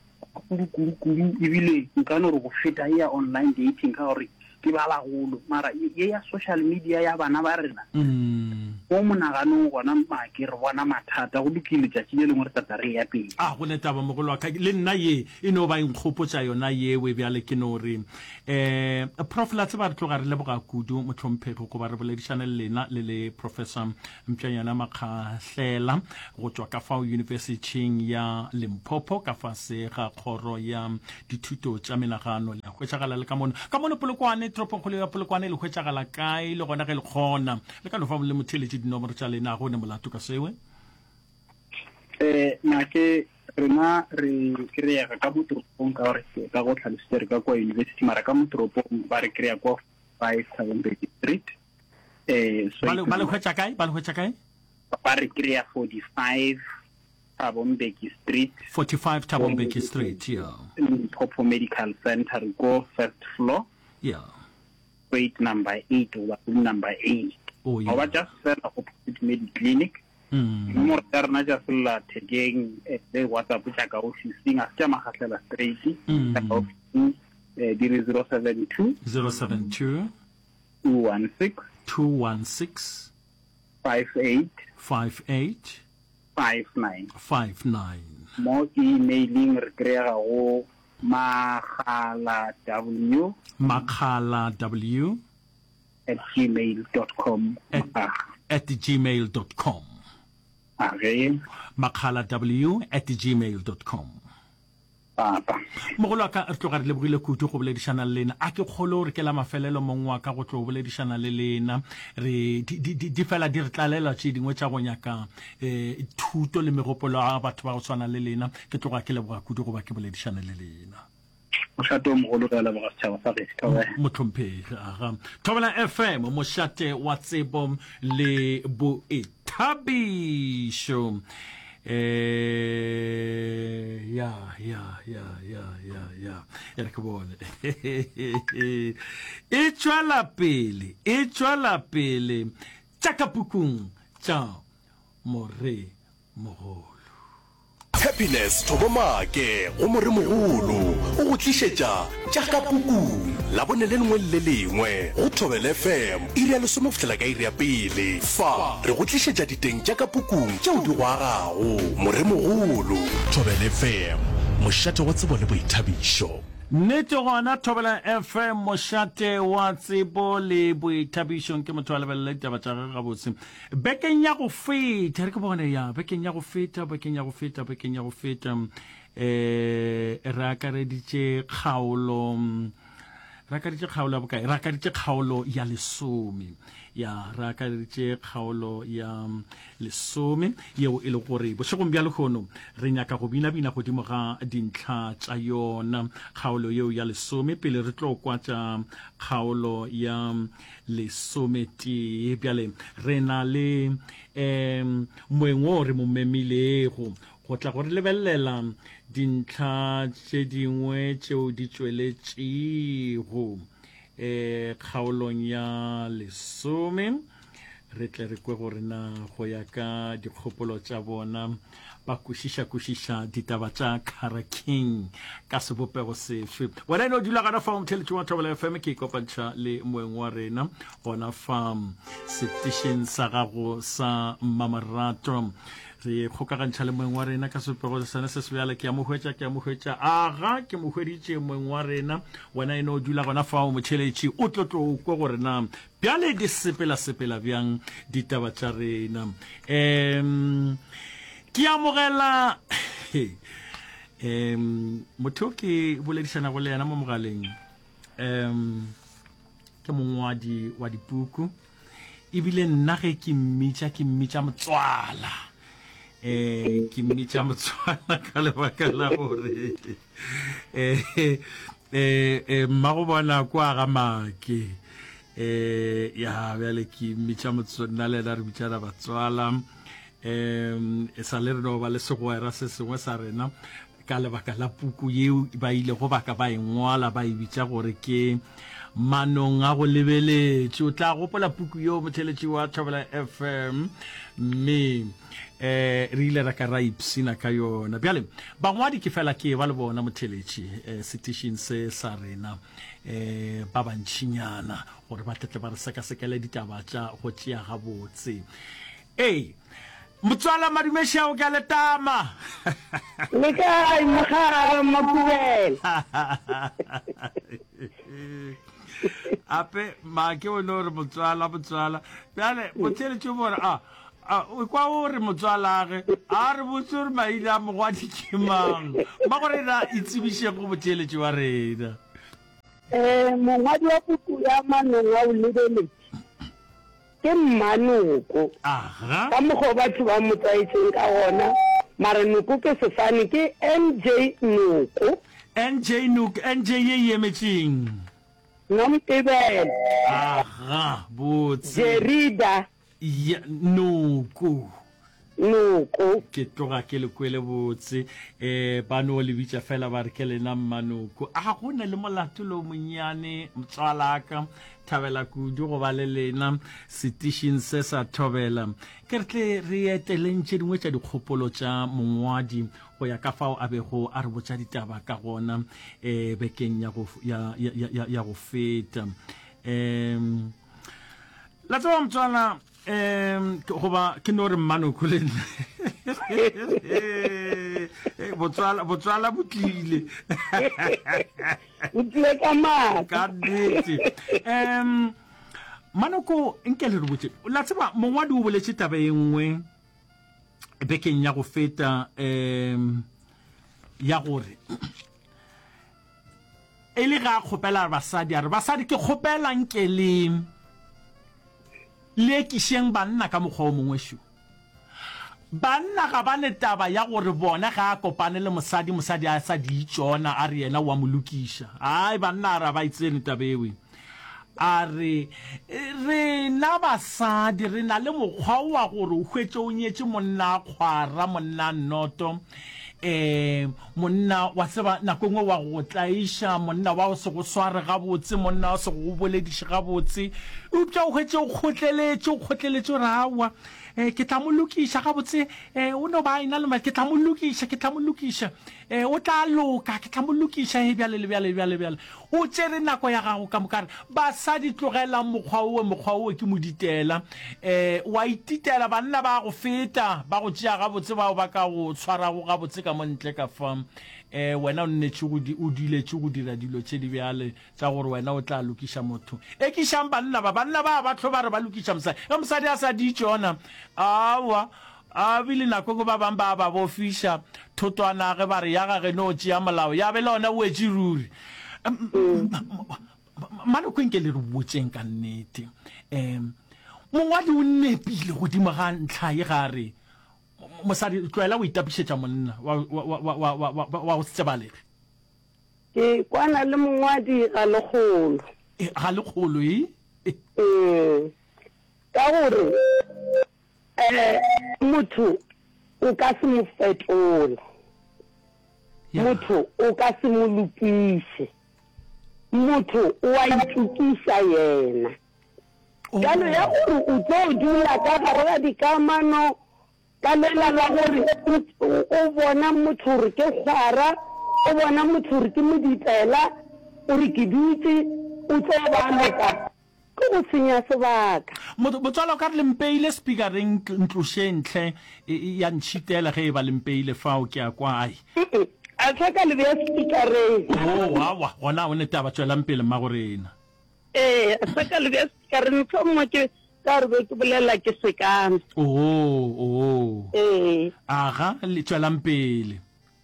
kudu, kudu, kudu, ebile nka no re go feta ye ya online dating, ka gore ke ba bagolo, mara ye ya social media ya bana ba rena, mo monaganong gona make re bona mathata. Go lokile, tšatši le lengwe re tla tla re eya pele. A go ne taba, mogolo wa ka, le nna ye e no ba e nkgopotša yona yewe. Bjale ke no re, um Prof, la tseba re tloga re leboga kudu, mohlomphegi, goba re boledišane le lena le le Professor Mpšanyana Makgahlela go tšwa ka fao Yunibesithing ya Limpopo ka fase ga kgoro ya dithuto tša menagano. Le a hwetšagala le ka mono. Ka mono Polokwane, toropongkgolo ya Polokwane, le hwetšagala kae? Le gona ge le kgona, le ka no fa le motheeletši dinomoro tša lena, go ne molato ka sewe. Eh, na ke rena re kry-ega ka mo toropong ka gore ka go tlhalositse re ka kwa university, mara ka mo toropong ba re kry-a kwa 5 Thabo Mbeki Street. Eh, so ba le hwetša kae? Ba le hwetša kae? Ba re kry-a 45 Thabo Mbeki Street. 45 Thabo Mbeki Street, yeah. Limpopo Medical Center, re ko first floor. Yeah. Suite number 8 goba room number 8. Oh, yeah. Goba just fela opposite Mediclinic. Dinomoro tša rena tša sellathekeng eh, le WhatsApp tša ka ofising, a se tša Magahlela straight, tša ka ofising eh, di re 072 072 216 216 58 58 59. 59. Mo emailing re kry-ega go makgala w Makgala w at gmail dot com. at, at gmail dot com. A ge. Makgala w at gmail dot com. Papa. Mogolo wa ka, re tloga re lebogile kudu go boledišana le lena. A ke kgolo gore ke la mafelelo mong wa ka go tlo boledišana le lena. Re, di, di, di, di fela di re tlalela tše dingwe tša go nyaka eh, thuto le megopolo ya batho ba go swana le lena. Ke tloga ke leboga kudu go ba ke boledišane le lena. Mošate o mogolo, re a leboga setšhaba sa gešo. Thobela. Mohlomphegi, aga. Thobela FM, mošate wa tsebo le boithabišo. Eh, ya, ya, ya, ya, ya, ya. E re ke bone. E tšwela pele, e tšwela pele. Tša ka pukung tša more mogolo. Happiness Thobo Maake go Moremogolo o go tlišetša tša ka pukung Labone le lengwe le le lengwe go Thobela FM iri ya lesome go fihlela ka iri ya pele. Fa re go tlišetša diteng tša ka pukung tšeo di go agago. Moremogolo. Thobela FM, mošate wa tsebo le boithabišo. Nnete gona Thobela FM mošate wa tsebo le boithabišo nke motho a lebelele ditaba tša gagwe gabotse. Bekeng ya go feta, re ke bone ya, bekeng ya go feta, bekeng ya go feta, bekeng ya go feta, eh, re akareditše kgaolo, re akareditše kgaolo ya bokae? Re akareditše kgaolo ya lesome. Ya, re akareditše kgaolo ya lesome, yeo e le gore bošegong bja lehono re nyaka go binabina godimo ga dintlha tša yona kgaolo yeo ya lesome, pele re tlo kwa tša kgaolo ya lesometee. Bjale re na le um moeng wo re mo memilego go tla go re lebelela dintlha tše dingwe tšeo di tšweletšego um kgaolong ya lesome. Re tle re kwe gore na go ya ka dikgopolo tša bona ba kwešiša-kwešiša ditaba tša Cara King ka sebopego sefe. Wena e no dula gona fa o motheletši wa Thobela FM, ke ikopantšha le moeng wa rena gona fa setišeng sa gago sa mmamorato. Re kgokagantšha le moeng wa rena ka sebopego sone se sebjale. Ke a mo hwetša, ke a mo hwetša. Aga, ke mo hweditše moeng wa rena. Wena e no dula gona fa o motheletši, o tlo tlo kwe gore na Bjale di sepela-sepela bjang ditaba tša rena? Um ke amogela um motho yo ke boledišanago le yena mo mogaleng um ke mongwadi wa dipuku ebile nna ge ke mmitša ke mmitša motswala. Eh ke mmitša motswala ka lebaka la gore eh eh eh mmago bona kwa ga make. Eh ya bjale ke mmitša motswala nna le yena re bitšana batswala. Um e sa le re no ba le segwera se sengwe sa rena ka lebaka la puku yeo ba ilego ba ka ba e ngwala ba e bitša gore ke Manong a go Lebeletše. O tla gopola puku yeo motheletši wa Thobela FM mme um re ile ra ka ra ipshina ka yona. Bjale bangwadi ke fela ke ba le bona motheletši um setišing se sa rena um ba bantšinyana gore ba tletle ba re sekasekele ditaba tša go tšea gabotse. Ee, motswala Madumešao ke a le tama. Le kae mogare Mmakubela? Ape make o no re motswala motswala. Bjale motheletši o mo re a a o kwa o re motswalage a re botse gore maina a mogwadi ke mang. Mma gore na itsebišeng go motheletši wa rena. Eh mongwadi wa puku ya Manong a o lebeletše. Ke Mmanoko. Aga. Ka mokgwa o batho ba mo tlwaetšeng ka gona, mara Noko ke sefane, ke NJ Noko. NJ Noko, NJ ye e emetšeng? Nompebele. Aga, botse. Jerida. Ya, Noko. Noko. Ke tloga ke le kwele botse. Eh, ba no le bitša fela ba re ke lena Mmanoko. A go ne le molato lo monnyane, motswalaka. Thabela kudu go ba le lena setišing se sa Thobela. Ke re tle re eteleng tše dingwe tša dikgopolo tša mongwadi go ya ka fao a bego a re botša ditaba ka gona eh, bekeng ya go, ya, ya, ya, ya go feta. Um, la tseba motswala, Um goba ke no re mmanoko le nna. Botswala botswala bo tlile. Bo tlile ka maatla. Ka nnete. Um Mmanoko nke le re botse. La tseba mongwadi o boletše taba e nngwe bekeng ya go feta um ya gore E le ge a kgopela basadi, a re, Basadi, ke kgopela nke le, le ekišeng banna ka mokgwa o mongwe šo. Banna ga ba ne taba ya gore bona ge a kopane le mosadi, mosadi a sa di tšona, a re yena o a mo lokiša. Ai, banna a re a ba e tsene taba ewe. A re, Rena basadi re na le mokgwa wa gore o hwetše o nyetše monna a kgwara, monna a nnoto, um monna wa tseba nako e nngwe wa go tlaiša, monna wa go se go sware gabotse, monna wa se go bolediše gabotse, eupša o hwetše o kgotleletše, o kgotleletše o re aowa, um ke tla mo lokiša gabotse, um o no ba a ena le ke tla mo lokiša, ke tla mo lokiša, um o tla loka, ke tla mo lokiša, e bjale le bjale, bjale, bjale. O tšere nako ya gago ka moka. A re, Basadi, tlogelang mokgwa owe, mokgwa owe ke moditela. E, o a ititela, banna ba a go feta, ba go tšea gabotse, bao ba ka go tshwarago gabotse ka mo ntle ka fa. E, wena o nnetše go di, o duletše go dira dilo tše di bjale, tša gore wena o tla lokiša motho. Ekišang banna ba, banna ba ba hlo ba re ba lokiša mosadi. Ge mosadi a sa di tšona, aowa, A bile nako engwe ba bang ba ba bofiša thotwana ge ba re ya ga geno o tšea molao, ya be le ona o wetše ruri. Maloko nke le re botšeng ka nnete. Um mongwadi o nepile godimo ga ntlha ye ga a re mosadi tloela go itapišetša monna wa, wa, wa, wa, wa, wa, wa go se tsebalege. Ke kwana le mongwadi ga lekgolo. E, ga lekgolo e? Ee, ka gore Eh, motho o ka se mo fetola. Motho o ka se mo lokiše. Motho o a itokiša yena. Bjalo ya gore o tlo dula ka gare ga dikamano ka lela la gore o bona motho gore ke kgwara, o bona motho gore ke moditela, o re ke dutše, o tlo ba loka. Ke go senya sebaka. Motswala o ka re le mpeile speakereng ntlošeng hle ya ntšhitela ge e ba le mpeile fao ke a kwa ai. A sa ka le bea speakereng. Oh awa gona o ne taba tšwelang pele mmagorena. Ee a sa ka le bea speakereng mohlomongwe ke ka gore be ke bolela ke sekana. Oh oh. Ee. Aga le tšwelang pele.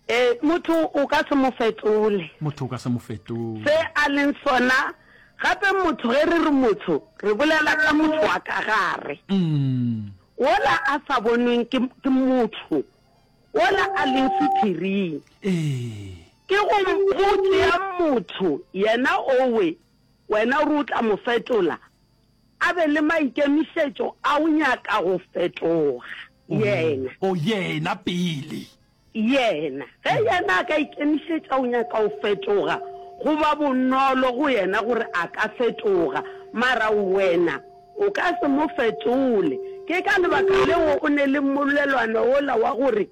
Ee, motho o ka se mo fetole. Motho o ka se mo fetole. Se a leng sona. Gape motho, ge re re motho, re bolela ka motho wa ka gare. Wola a sa bonweng ke, ke motho, wola a leng sephiring. Ee. Ke go, go tšea motho yena owe wena o re o tla mo fetola, a be le maikemišetšo a o nyaka go fetoga yena. O, yena pele. Yena. Ge yena a ka ikemišetša o nyaka go fetoga, go ba bonolo go yena gore a ka fetoga, mara wena o ka se mo fetole. Ke ka lebaka leo o ne le mmolelwana wola wa gore,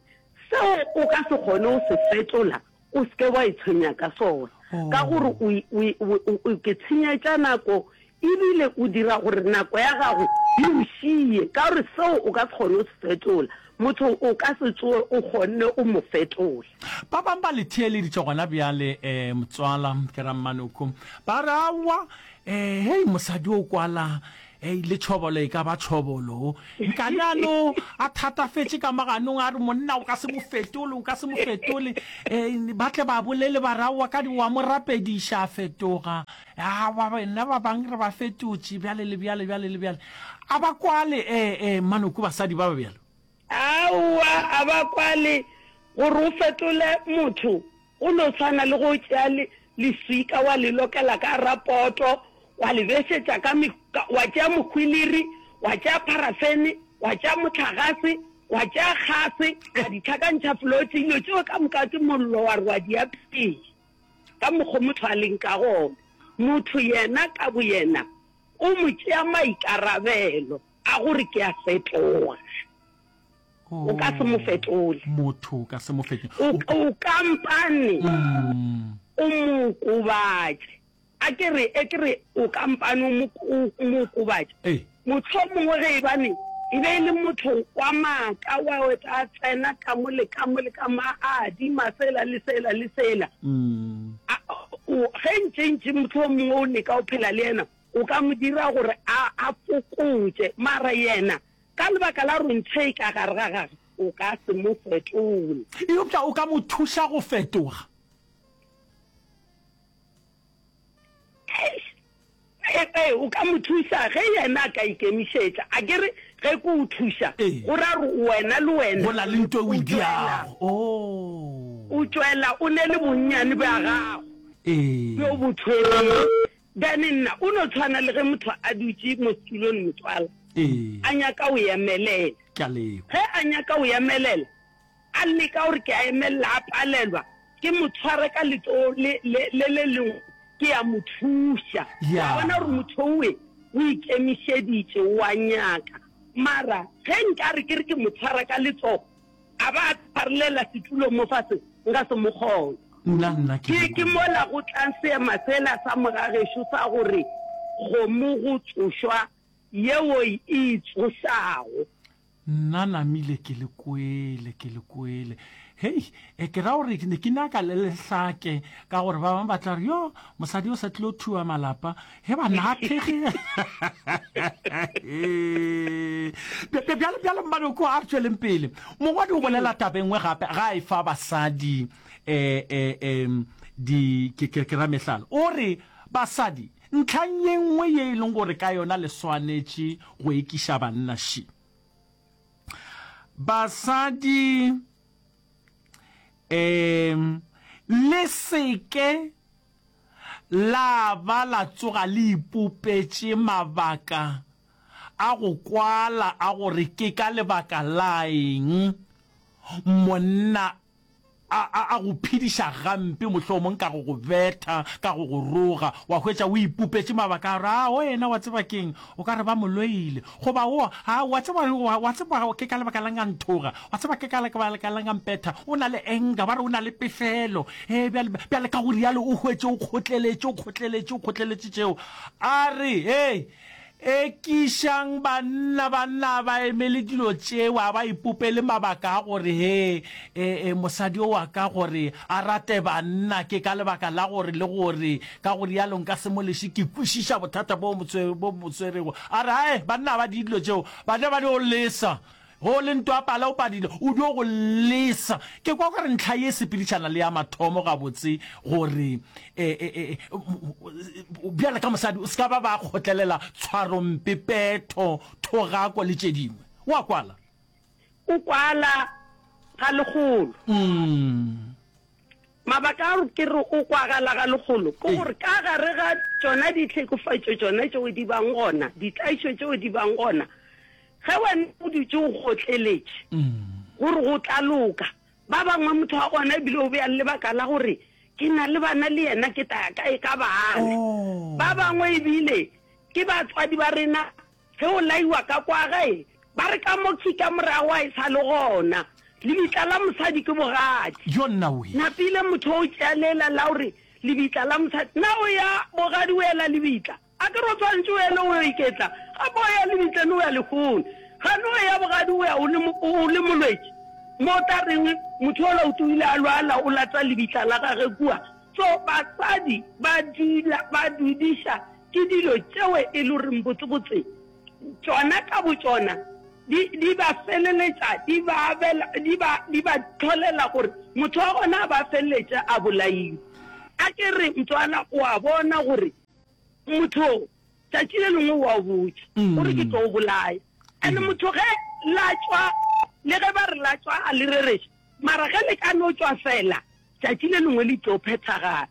Seo o ka se kgone go se fetola, o se ke wa itshwenya ka sona, ka gore o, o, o, o, ke tshenyetša nako ebile o dira gore nako ya gago e o šie, ka gore seo o ka se kgone go se fetola. Motho o ka se tsoge o kgonne o mo fetola. Ba bangwe ba le theeleditše gona bjale, um motswala, ke ra Mmanoko, ba re, Aowa, um hei, mosadi o kwala, hei, le tšhobolo e ka ba tšhobolo. Nkane a no a thatafetše ka maganong, a re, Monna o ka se mo fetole, o ka se mo fetole. Um ba tle ba bolele ba re, Aowa, ka di wa mo rapediša a fetoga. Aowa, nna ba bang re ba fetotše, bjale le bjale, bjale le bjale. A ba kwale, ee, ee, Mmanoko, basadi ba ba bjalo. Aowa, a ba kwale. Gore o fetole motho, go no swana le ge o tšea le, leswika wa le lokela ka gara poto, wa le bešetša ka me, ka, wa tšea mohwiliri, wa tšea pharafene, wa tšea mohlagase, wa tšea gase, wa di hlakantšha flotse, dilo tšeo ka moka ke mollo, wa re wa di apea. Ka mokgo motho a leng ka gona. Motho yena ka boyena o mo tšea maikarabelo a gore ke a fetoga. O ka se mo fetole. Motho o ka se mo fetole. O, o kampane o mo okobatše. A ke re, e ke re o kampane o mo, o mo okobatše. Ee. Mohlomongwe ge ebane e be e le motho wa maaka wa o tla tsena ka mo le ka mo le ka mo a adima sela le sela le sela. A, o, ge ntše ntše mohlomongwe o leka go phela le yena, o ka mo dira gore a, a fokotše. Mara yena, ka lebaka la gore ntho e ka gare ga gagwe, o ka se mo fetole. Eupša o ka mo thuša go fetoga. Eish! Ee, ee, o ka mo thuša ge yena a ka ikemišetša. A ke re ge ke o thuša, go ra gore wena le wena Go na le nto e o e o tšwela, diago. Oh. o tšwela o ne le bonnyane bja gago Ee. bjo bo thwerego. Then nna o no tshwana le ge motho a dutše mo setulong motswala, Ee. a nyaka o emelela. Ke a lekwa. Ge a nyaka o emelela, a leka gore ke a emelela, a palelwa, ke mo tshware ka letsogo le, le, le le lengwe, ke a mo thuša. Ya. Wa bona gore motho owe o ikemišeditše, o a nyaka. Mara ge nka re ke re ke mo tshwara ka letsogo, a ba a tshwarelela setulong mo fase, nka se mo kgone. Nna, nna ke Ke, le ke kwele. mola go tlang seema sela sa mogagešo sa gore kgomo go tsošwa yeo e itsošago. Nna namile ke le kwele, ke le kwele. Hei, e ke ra gore ne ke nyaka le lehlake ka gore ba bangwe ba tla re, yo, mosadi o sa tlilo thuwa malapa. He banna a thege. Bjale, bjale Mmanoko a re tšweleng pele. Mongwadi o bolela taba e nngwe gape ga a e fa basadi eh, eh, eh, di, ke, ke, ke ra mehlala. O re, basadi, Ntlhang ye nngwe ye e leng gore ka yona le swanetše go ekiša banna še, Basadi, um le se ke la ba la tsoga le ipopetše mabaka a go kwala a gore ke ka lebaka la eng monna a, a, a go phediša gampe, mohlomong ka go go betha, ka go go roga, wa hwetša o ipopetše mabaka a gore, A, wena, wa tseba ke'ng? O ka re ba mo loile. Goba, O, a, wa tseba, wa, wa tseba ke ka lebaka la'ng a nthoga? Wa tseba ke ka lebaka la'ng a mpetha? O na le anger, ba re o na le pefelo. Ee, bjale, bjale ka go rialo o hwetše o kgotleletše, o kgotleletše, o kgotleletše tšeo. A re, Hei, Ekišang banna, banna a ba emele dilo tšeo, a ba ipopele mabaka a gore, He, e, e, mosadi yo wa ka gore a rate banna ke ka lebaka la gore le gore, ka go rialo nka se mo leše, ke kwešiša bothata bo mo bo mo swerego. A re, Ae, banna a ba die dilo tšeo, banna ba dio lesa. Ge o le ntwa pala o padile, o dio go lesa. Ke kwa gore ntlha ye e sepedišana le ya mathomo gabotse gore e, e, e, bjale ka mosadi o se ka ba ba kgotlelela tshwarompe, petho, thogako le tše dingwe. O a kwala? O kwala ga lekgolo. Mabaka a gore ke re o kwagala ga lekgolo ke gore ka gare ga tšona ditlhekofatšo tšona tšeo di bang gona, ditlaišo tšeo di bang gona, ge wena o dutše o kgotleletše gore go tla loka, ba bangwe motho wa gona ebile o bea le lebaka la gore ke na le bana le yena ke tla ya kae ka bana. Ba bangwe ebile ke batswadi ba rena Ge o laiwa ka kwa gae, ba re ka mo khi ka morago a e sa le gona. Lebitla la mosadi ke bogadi. Jo nna we. Napile motho o tšea lela la gore lebitla la mosadi. Na o ya bogadi o ela lebitla? A ke re o tshwanetše o ele o yo iketla? Gape o ya lebitleng o ya lehono. Gane o ya bogadi o ya o le o le molwetši? Mo o tla reng motho yola o tsohile a lwala o lata lebitla la gage kua? So basadi ba dula ba dudiša Ke dilo tšeo e le goreng botsebotse tšona ka botšona di, di ba feleletša di ba abela, di ba, di ba hlolela gore motho wa gona a ba feleletše a bolailwe. A ke re mtswala o a bona gore motho tšatši le lengwe o a botša gore ke tlo o bolaya. And motho ge la tšwa, le ge ba re la tšwa a le rereše, mara ge le ka no tšwa fela, tšatši le lengwe le tlo phethagala.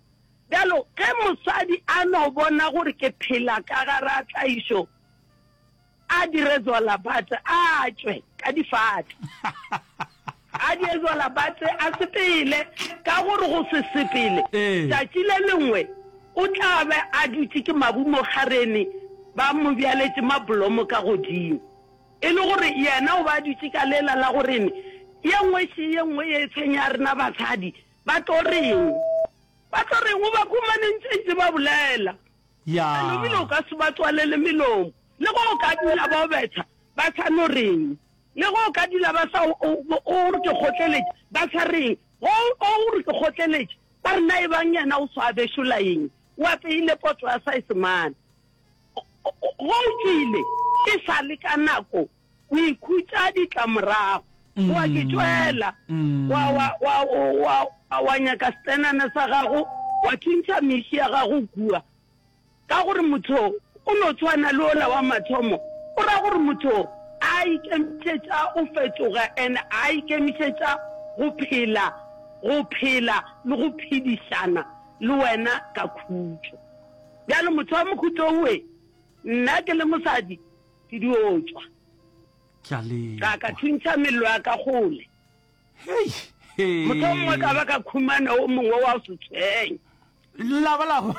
Bjalo, ge mosadi a no bona gore ke phela ka gare ga tlaišo, a dire zwalabatse, a tšwe ka difate. A die zwalabatse, a sepele, ka gore go se sepele, tšatši le lengwe o tla be a dutše ke mabu mo kgarene, ba mo bjaletše mablomo ka godimo. E le gore yena o ba a dutše ka lela la gorene, ye nngwe še ye nngwe ye e tshwenya rena basadi, Ba tlo reng? Ba tlo reng? O ba khumane ntše ntše ba bolela. Ya. And ebile o ka se ba tswalele melomo. Le go o ka dula ba o betha, ba sa no reng. Le go o ka dula ba sa o, o, o re ke kgotleletše, ba sa reng. Go o re ke kgotleletše, ba re na e bang yena o swa bešola eng? O apeile poto ya saesemane. Go o tšwile e sa le ka nako O ikhutša ditlamorago. O a ke tšwela. Wa, wa, wa, wa, wa, wa nyaka setenana sa gago, wa thuntšha meši ya gago kua. Ka gore motho o no tshwana le ola wa mathomo, o ra gore motho a ikemišetša o fetoga and a ikemišetša go phela, go phela le go phedišana le wena ka khutšo. Bjale motho wa mokhutšo owe, nna ke le mosadi, Ke dio tšwa. Ke a le Ka ka thuntšha mello ya ka kgole. Hei, hei. Mohlomongwe ka ba ka khumana o mongwe wa go se tshwenye. La ba la go.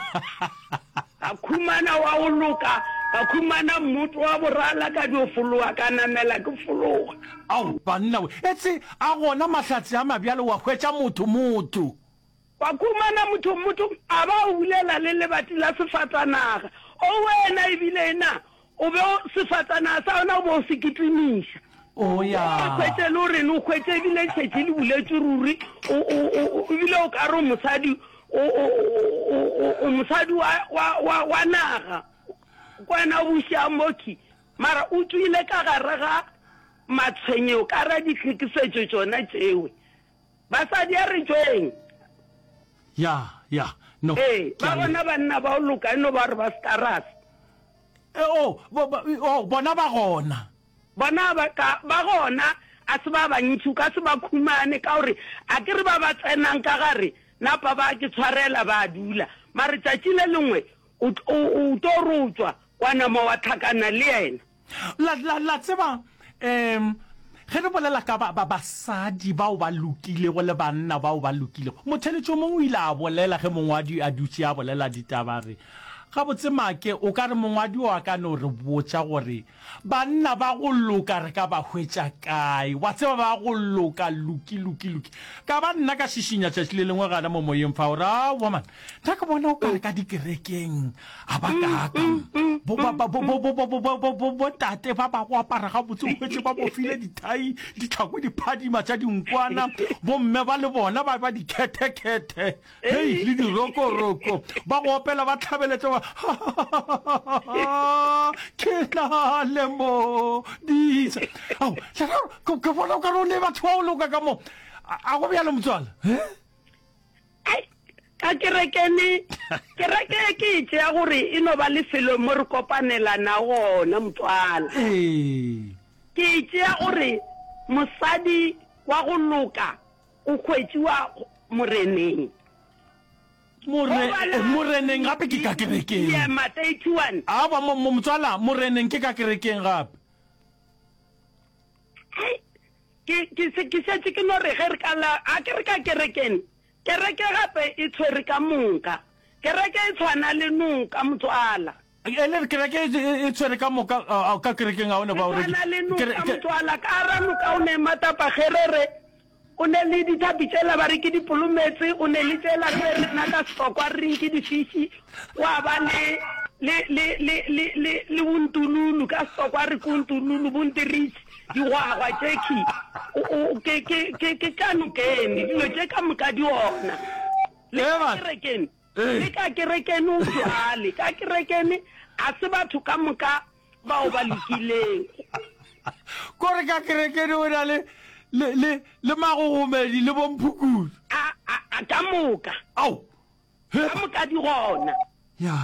Ka khumana wa go loka, ka khumana mmoto wa borala ka dio fologa, ka namela ke fologa. Ao, banna we. Etse, a gona mahlatse a mabjalo wa hwetša motho, motho. Wa khumana motho, motho a ba o bulela le lebati la sefatanaga. O wena ebile na O be o, sefatanaga sa gona o be o se kitimiša. O ya. O hwetše le gore o hwetše ebile tšhetše le buletše ruri, o, o, o, ebile o ka re o mosadi, o, o, o, o, o mosadi wa, wa, wa, wa naga. Kwena o buša mokhi, mara o tšwile ka gare ga matshwenyego, ka ra ditlhekefetšo tšona tšewe. Basadi a re tšweng. Ya, ya, no. Ee, ba gona banna ba o loka, e no ba gore ba starase. E, oh, bo, bo, oh, bona ba gona. Bona ba ka, ba gona, a se ba bantši, o ka se ba khumane, ka gore a ke re ba ba tsenang ka gare, napa ba ke tshwarela ba dula. Mare tšatši le lengwe o, o, o tlo re o tšwa, wa nama wa tlhakana le yena. La, la, la tseba, um, ge re bolela ka ba, ba basadi bao ba lokilego le banna bao ba lokilego, motheletši o mongwe o ile a bolela ge mongwadi a dutše a bolela ditaba, a re, Gabotse, Make, o ka re mongwadi o a ka no re botša gore banna ba go loka re ka ba hwetša kae? Wa tseba, ba go loka, loki, loki, loki. Ka ba nna ka šišinya tšatši le lengwe gana mo moyeng fa, gore, Aowa, man, nna ke bona o ka re ka dikerekeng A ba kaaka bo ba ba bo bo bo bo bo bo bo bo bo tate ba ba go apara gabotse o hwetše ba bofile dithai ditlhako di phadima tša dinkwana bomme ba le bona ba ba dikhethekhethe hei le dirokoroko ba go opela ba tlhabeletša ba ke na le modisa ao ke bona o ka re o ne batho ba o loka ka mo a go bjalo motswala eh? Ai, ka kerekene, kereke ke e tšea gore e no ba lefelo mo re kopanelana gona, motswala. Ee. Ke e tšea gore mosadi wa go loka o hwetšiwa Moreneng. More, eh, Moreneng gape ke ka kerekeng. Yema 31. Aowa, mo, mo, motswala, Moreneng ke ka kerekeng gape. Hei, ke, ke, se, ke šetše ke no re ge re ka la, a ke re ka kerekeng, kereke gape e tshwere ka moka. Kereke e tshwana le noka, motswala. E le re kereke e, e, e tshwere ka moka, a, a, ka kerekeng ga o ne E ba o re tshwana le noka, kere, ke, motswala. Ka gara noka o ne matapagerere, o ne le dithapi tšela ba re ke dipolometse, o ne le tšela re be re na ka sefokwa re reng ke difiši, wa ba le, le, le, le, le, le, le bontululu, ka sefokwa re ke ontululu, bontiritši, digwagwa tšekhwi, o, o, ke, ke, ke, ke ka nokeng, dilo tše ka moka di gona. Le ka Eba. kerekeng. Ee. Le ka kerekene o bjale. Ka kerekene a se batho ka moka bao ba lokileng. Kore ka kerekene o na le, le, le, le magogomedi le bomphukudu. A, a, a, ka moka. Ao! He. Ka moka di gona. Ya.